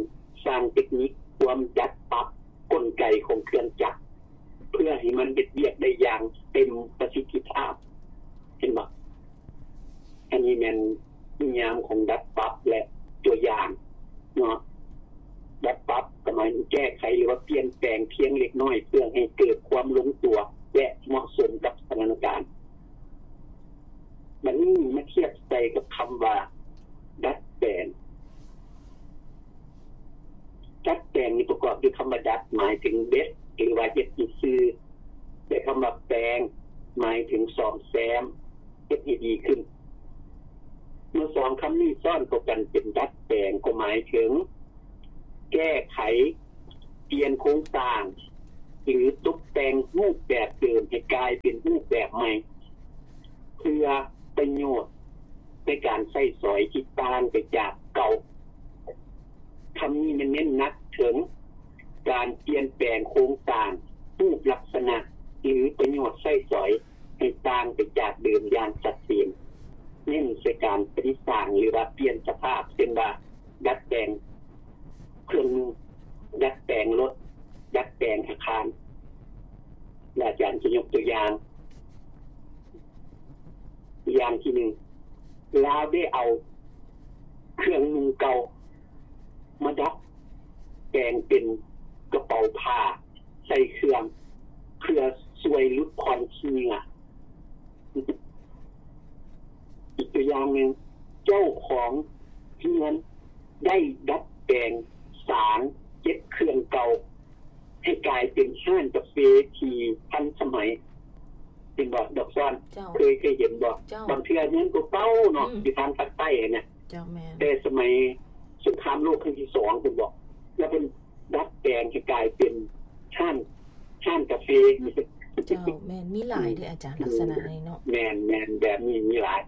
ສ້າງເຕັກນິກຄວາມດັດປັບກົນໄກຂອງເຄື່ອງຈັກ ເພື່ອໃຫ້ມັນເຮັດວຽກໄດ້ຢ່າງເຕັມປະສິດທິພາບ. ເຫັນບໍ່? ອັນນີ້ແມ່ນນິຍາມຂອງດັດປັບ ແລະ ຕົວຢ່າງເນາະ. ດັດປັບກໍໝາຍເຖິງແກ້ໄຂ ຫຼືວ່າປ່ຽນແປງພຽງເລັກນ້ອຍ ເພື່ອໃຫ້ເກີດຄວາມລົງຕົວ ແລະ ເໝາະສົມກັບສະຖານະການ. ບັດນີ້ມາທຽບໃສ່ກັບຄຳວ່າດັດແປງ. ດັດແປງນີ້ປະກອບດ້ວຍຄຳວ່າດັດ ໝາຍເຖິງເດັດ ຫຼືວ່າເຮັດໃຫ້ຊື່, ແລະ ຄຳວ່າແປງ ໝາຍເຖິງສ້ອມແຊມ, ເຮັດໃຫ້ດີຂຶ້ນ. ເມື່ອສອງຄຳນີ້ຊ້ອນເຂົ້າກັນເປັນດັດແປງ ກໍໝາຍເຖິງແກ້ໄຂ ປ່ຽນໂຄງສ້າງ ຫຼື ຕົກແຕ່ງຮູບແບບເດີມໃຫ້ກາຍເປັນຮູບແບບໃໝ່ ເພື່ອປະໂຫຍດໃນການໃຊ້ສອຍທີ່ຕ່າງໄປຈາກເກົ່າ. ຄຳນີ້ແມ່ນເນັ້ນໜັກເຖິງການປ່ຽນແປງໂຄງສ້າງ, ຮູບລັກສະນະ ຫຼື ປະໂຫຍດໃຊ້ສອຍໃຫ້ຕ່າງໄປຈາກເດີມຢ່າງຊັດເຈນ, ເນັ້ນໃສ່ການປະດິດສ້າງ ຫຼືວ່າປ່ຽນສະພາບ, ເຊັ່ນວ່າ ດັດແປງເຄື່ອງໜຸ່ງ, ດັດແປງລົດ, ດັດແປງອາຄານ. ອາຈານຈະຍົກຕົວຢ່າງ, ຢ່າງທີໜຶ່ງ, ລາວໄດ້ເອົາເຄື່ອງນຸ່ງເກົ່າມາດັດແປງເປັນກະເປົາຜ້າໃສ່ເຄື່ອງ ເພື່ອຊ່ວຍຫຼຸດຜ່ອນຂີ້ເຫຍື້ອ. ອີກຕົວຢ່າງໜຶ່ງ, ເຈົ້າຂອງເຮືອນໄດ້ດັດແປງສານເກັບເຄື່ອງເກົ່າໃຫ້ກາຍເປັນຮ້ານກາເຟທີ່ທັນສະໄໝ. ເຫັນບໍ່ ດອກຊອນ? ເຈົ້າ. ເຄີຍ ເຄີຍເຫັນບໍ່? ເຈົ້າ. ບາງເທື່ອເຮືອນເກົ່າໆເນາະ, ອືມ ຢູ່ທາງພາກໃຕ້ຫັ້ນນະ. ເຈົ້າ, ແມ່ນ. ແຕ່ສະໄໝສົງຄາມໂລກຄັ້ງທີສອງ ເພິ່ນບອກ, ແລ້ວເພິ່ນ ດັດແປງໃຫ້ກາຍເປັນຮ້ານ ຮ້ານກາເຟ. ເຈົ້າ, ແມ່ນ, ມີຫຼາຍເດ້ອາຈານ ອືມ ລັກສະນະນີ້ເນາະ. ແມ່ນ, ແມ່ນ, ແບບນີ້ມີຫຼາຍ.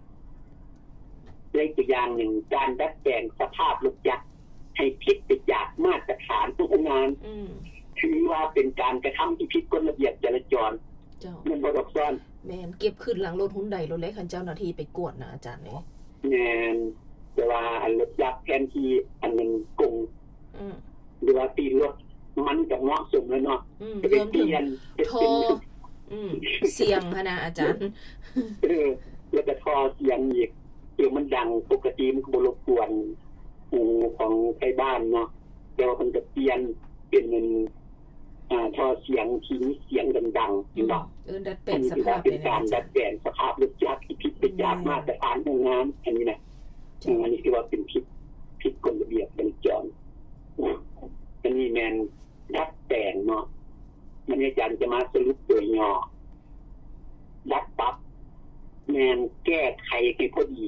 ຍົກຕົວຢ່າງໜຶ່ງ, ການດັດແປງສະພາບລົດຈັກໃຫ້ຜິດໄປຈາກມາດຕະຖານໂຮງງານ, ອືມ ຖືວ່າເປັນການກະທຳທີ່ຜິດກົດລະບຽບຈະລາຈອນ. ເຈົ້າ. ແມ່ນບໍ່ ດອກຊອນ? ແມ່ນ, ເກັບຂຶ້ນຫຼັງລົດຮຸນໄດໂລດແຫຼະ ຄັນເຈົ້າໜ້າທີ່ໄປກວດນະອາຈານເອີຍ. ແມ່ນ, ແຕ່ວ່າອັນລົດຈັກແທນທີ່ອັນນັ້ນກົງ ອືມ ຫຼືວ່າຕີນລົດ ມັນກໍເໝາະສົມແລ້ວເນາະ. ອືມ ລວມເຖິງທໍ່ ອືມ ສຽງຫັ້ນນະອາຈານ. ເອີ ແລ້ວກໍທໍ່ສຽງອີກ, ເພາະມັນດັງ, ປົກກະຕິມັນກໍບໍ່ລົບກວນຫູຂອງໄທບ້ານເນາະ, ແຕ່ວ່າເພິ່ນກໍປ່ຽນເປັນອັນ ອ່າ ທໍ່ສຽງທີ່ມີສຽງດັງໆ ອືມ ເຫັນບໍ່? ເອີ ດັດແປງສະພາບ ອັນນີ້ຖືວ່າເປັນການດັດແປງສະພາບລົດຈັກທີ່ຜິດໄປຈາກມາດຕະຖານໂຮງງານ ອັນນີ້ນະ. ເຈົ້າ. ອືມ ອັນນີ້ຖືວ່າເປັນຜິດ ຜິດກົດລະບຽບຈະລາຈອນ. ອັນນີ້ແມ່ນດັດແປງເນາະ. ບັດນີ້ອາຈານຈະມາສະຫຼຸບໂດຍຫຍໍ້. ດັດປັບ ແມ່ນແກ້ໄຂໃຫ້ພໍດີ,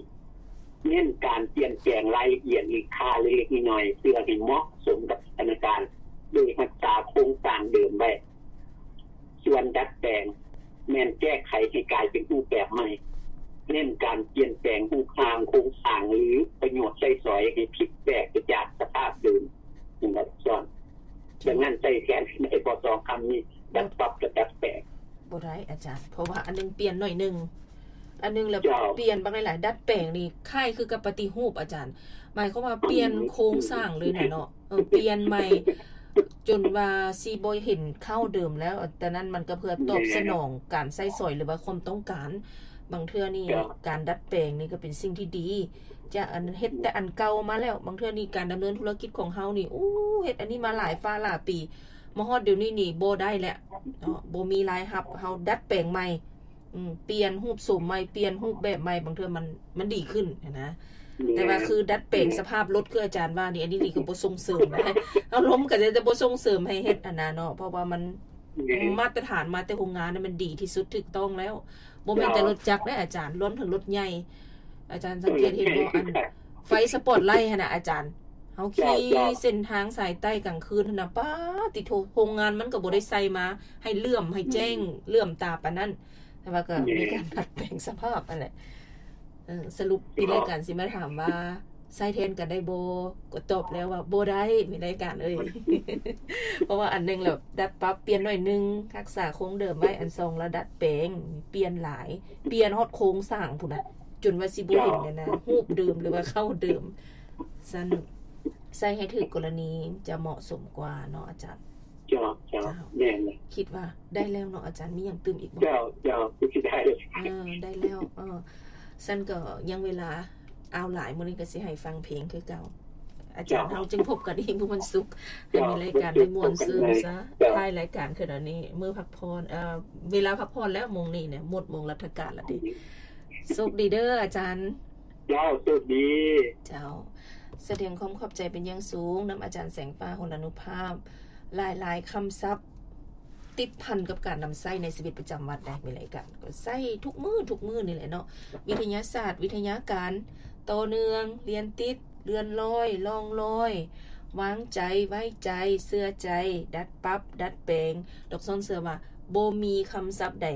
ເນັ້ນການປ່ຽນແປງລາຍລະອຽດ ຫຼື ຄ່າເລັກໆນ້ອຍໆ ເພື່ອໃຫ້ເໝາະສົມກັບສະຖານະການ ໂດຍຮັກສາໂຄງສ້າງເດີມໄວ້. ສ່ວນດັດແປງ ແມ່ນແກ້ໄຂໃຫ້ກາຍເປັນຮູບແບບໃໝ່, ເນັ້ນການປ່ຽນແປງຮູບຮ່າງໂຄງສ້າງ ຫຼື ປະໂຫຍດໃຊ້ສອຍໃຫ້ຜິດແປກໄປຈາກສະພາບເດີມ. ເຫັນບໍ່ ດອກຊອນ? ດັ່ງນັ້ນໃຊ້ແທນກັນໄດ້ບໍ່ ສອງຄຳນີ້ ດັດປັບກັບດັດແປງ? ບໍ່ໄດ້ອາຈານ, ເພາະວ່າອັນໜຶ່ງປ່ຽນໜ້ອຍໜຶ່ງ, ອັນໜຶ່ງແລ້ວ ເຈົ້າ ປ່ຽນບັກຫຼາຍໆ ດັດແປງນີ້ຄ້າຍຄືກັບປະຕິຮູບອາຈານ ໝາຍຄວາມວ່າປ່ຽນ ອືມ ໂຄງສ້າງເລີຍນະເນາະ ເອີ ປ່ຽນໃໝ່ ຈົນວ່າຊິບໍ່ເຫັນເຄົ້າເດີມແລ້ວ ແຕ່ນັ້ນມັນກໍເພື່ອຕອບ ແມ່ນ ສະໜອງການໃຊ້ສອຍ ຫຼືວ່າຄວາມຕ້ອງການ ບາງເທື່ອນີ້ ເຈົ້າ ການດັດແປງນີ້ກໍເປັນສິ່ງທີ່ດີ ຈາກອັນເຮັດແຕ່ອັນເກົ່າມາແລ້ວ ບາງເທື່ອນີ້ການດຳເນີນທຸລະກິດຂອງເຮົານີ້ ໂອ້ ເຮັດອັນນີ້ມາຫຼາຍຟ້າຫຼາຍປີ ມາຮອດດຽວນີ້ນີ້ບໍ່ໄດ້ແລ້ວເນາະ ບໍ່ມີລາຍຮັບ ເຮົາດັດແປງໃໝ່ ອືມ ປ່ຽນຮູບໂສມໃໝ່ ປ່ຽນຮູບແບບໃໝ່ ບາງເທື່ອມັນ ມັນດີຂຶ້ນຫັ້ນນະ ແມ່ນ ແຕ່ວ່າຄືດັດແປງ ແມ່ນ ສະພາບລົດ ຄືອາຈານວ່ານີ້ ອັນນີ້ນີ້ກໍບໍ່ສົ່ງເສີມນະ ອາລົມກໍຈະ ຈະບໍ່ສົ່ງເສີມໃຫ້ເຮັດຫັ້ນນະເນາະ ເພາະວ່າມັນ ແມ່ນ ມາດຕະຖານມາແຕ່ໂຮງງານນະ ມັນດີທີ່ສຸດ ຖືກຕ້ອງແລ້ວ ບໍ່ແມ່ນແຕ່ ເຈົ້າ ລົດຈັກເດ້ອາຈານ ລວມເຖິງລົດໃຫຍ່ ອາຈານສັງເກດເຫັນບໍ່ ເອີ ອັນ ໄຟສະປອດໄລຫັ້ນນະອາຈານ ເຮົາຂີ່ ເຈົ້າ ເຈົ້າ ເສັ້ນທາງສາຍໃຕ້ກາງຄືນຫັ້ນນະ ປາດຕິໂທ ໂຮງງານມັນກໍບໍ່ໄດ້ໃສ່ມາໃຫ້ເຫຼື້ອມ ໃຫ້ແຈ້ງ ອືມ ເຫຼື້ອມຕາປານນັ້ນ ແຕ່ວ່າກໍ ແມ່ນ ມີການດັດແປງສະພາບຫັ້ນແຫຼະ ເອີ ສະຫຼຸບ ເຈົ້າ ມີລາຍການຊິມາຖາມວ່າ ໃຊ້ແທນກັນໄດ້ບໍ່? ກໍຕອບແລ້ວວ່າບໍ່ໄດ້ ມີລາຍການເອີຍ ເພາະວ່າອັນໜຶ່ງແລ້ວ ດັດປັບ ປ່ຽນໜ້ອຍໜຶ່ງ ຮັກສາຄົງເດີມໄວ້ ອັນສອງລະດັດແປງ ປ່ຽນຫຼາຍ ປ່ຽນຮອດໂຄງສ້າງພຸ້ນນະ ຈົນວ່າຊິບໍ່ເຫັນ ເຈົ້າ ອັນນະ ຮູບເດີມ ຫຼືວ່າເຄົ້າເດີມ ຊັ້ນໃຊ້ໃຫ້ຖືກກໍລະນີຈະເໝາະສົມກວ່າເນາະອາຈານ. ເຈົ້າ ເຈົ້າ ເຈົ້າ ແມ່ນແຫຼະ ຄິດວ່າໄດ້ແລ້ວເນາະອາຈານ ມີຫຍັງຕື່ມອີກບໍ່? ເຈົ້າ ເຈົ້າ ຄືຊິໄດ້ ເອີ ໄດ້ແລ້ວ ເອີ ຊັ້ນກໍຍັງເວລາ ເອົາຫຼາຍ ມື້ນີ້ກໍຊິໃຫ້ຟັງເພງຄືເກົ່າ ອາຈານ ເຈົ້າ ເຮົາຈຶ່ງພົບກັນອີກມື້ວັນສຸກ ໃຫ້ ເຈົ້າ ມີລາຍການໄດ້ມ່ວນຊື່ນຊະ ເຈົ້າ ທ້າຍລາຍການຄືດຽວນີ້ ມື້ພັກຜ່ອນ ເອີ ເວລາພັກຜ່ອນແລ້ວ ໂມງນີ້ນະ ໝົດໂມງລັດຖະການແລ້ວເດ້ ໂຊກດີເດີອາຈານ. ເຈົ້າ ໂຊກດີ ເຈົ້າ ສະແດງຄວາມຂອບໃຈເປັນຢ່າງສູງນຳອາຈານແສງຟ້າ ຫົນລານຸພາບ ຫຼາຍໆຄຳສັບ ຕິດພັນກັບການນຳໃຊ້ໃນຊີວິດປະຈຳວັນໄດ໋ ມີລາຍການກໍໃຊ້ທຸກມື້ ທຸກມື້ນີ້ແຫຼະເນາະ ວິທະຍາສາດ ວິທະຍາການ ຕໍ່ເນື່ອງ ລຽນຕິດ ເລື່ອນລອຍ ລ່ອງລອຍ ວາງໃຈ ໄວ້ໃຈ ເຊື່ອໃຈ ດັດປັບ ດັດແປງ ດອກຊອນເຊື່ອວ່າ ບໍ່ມີຄຳສັບໃດ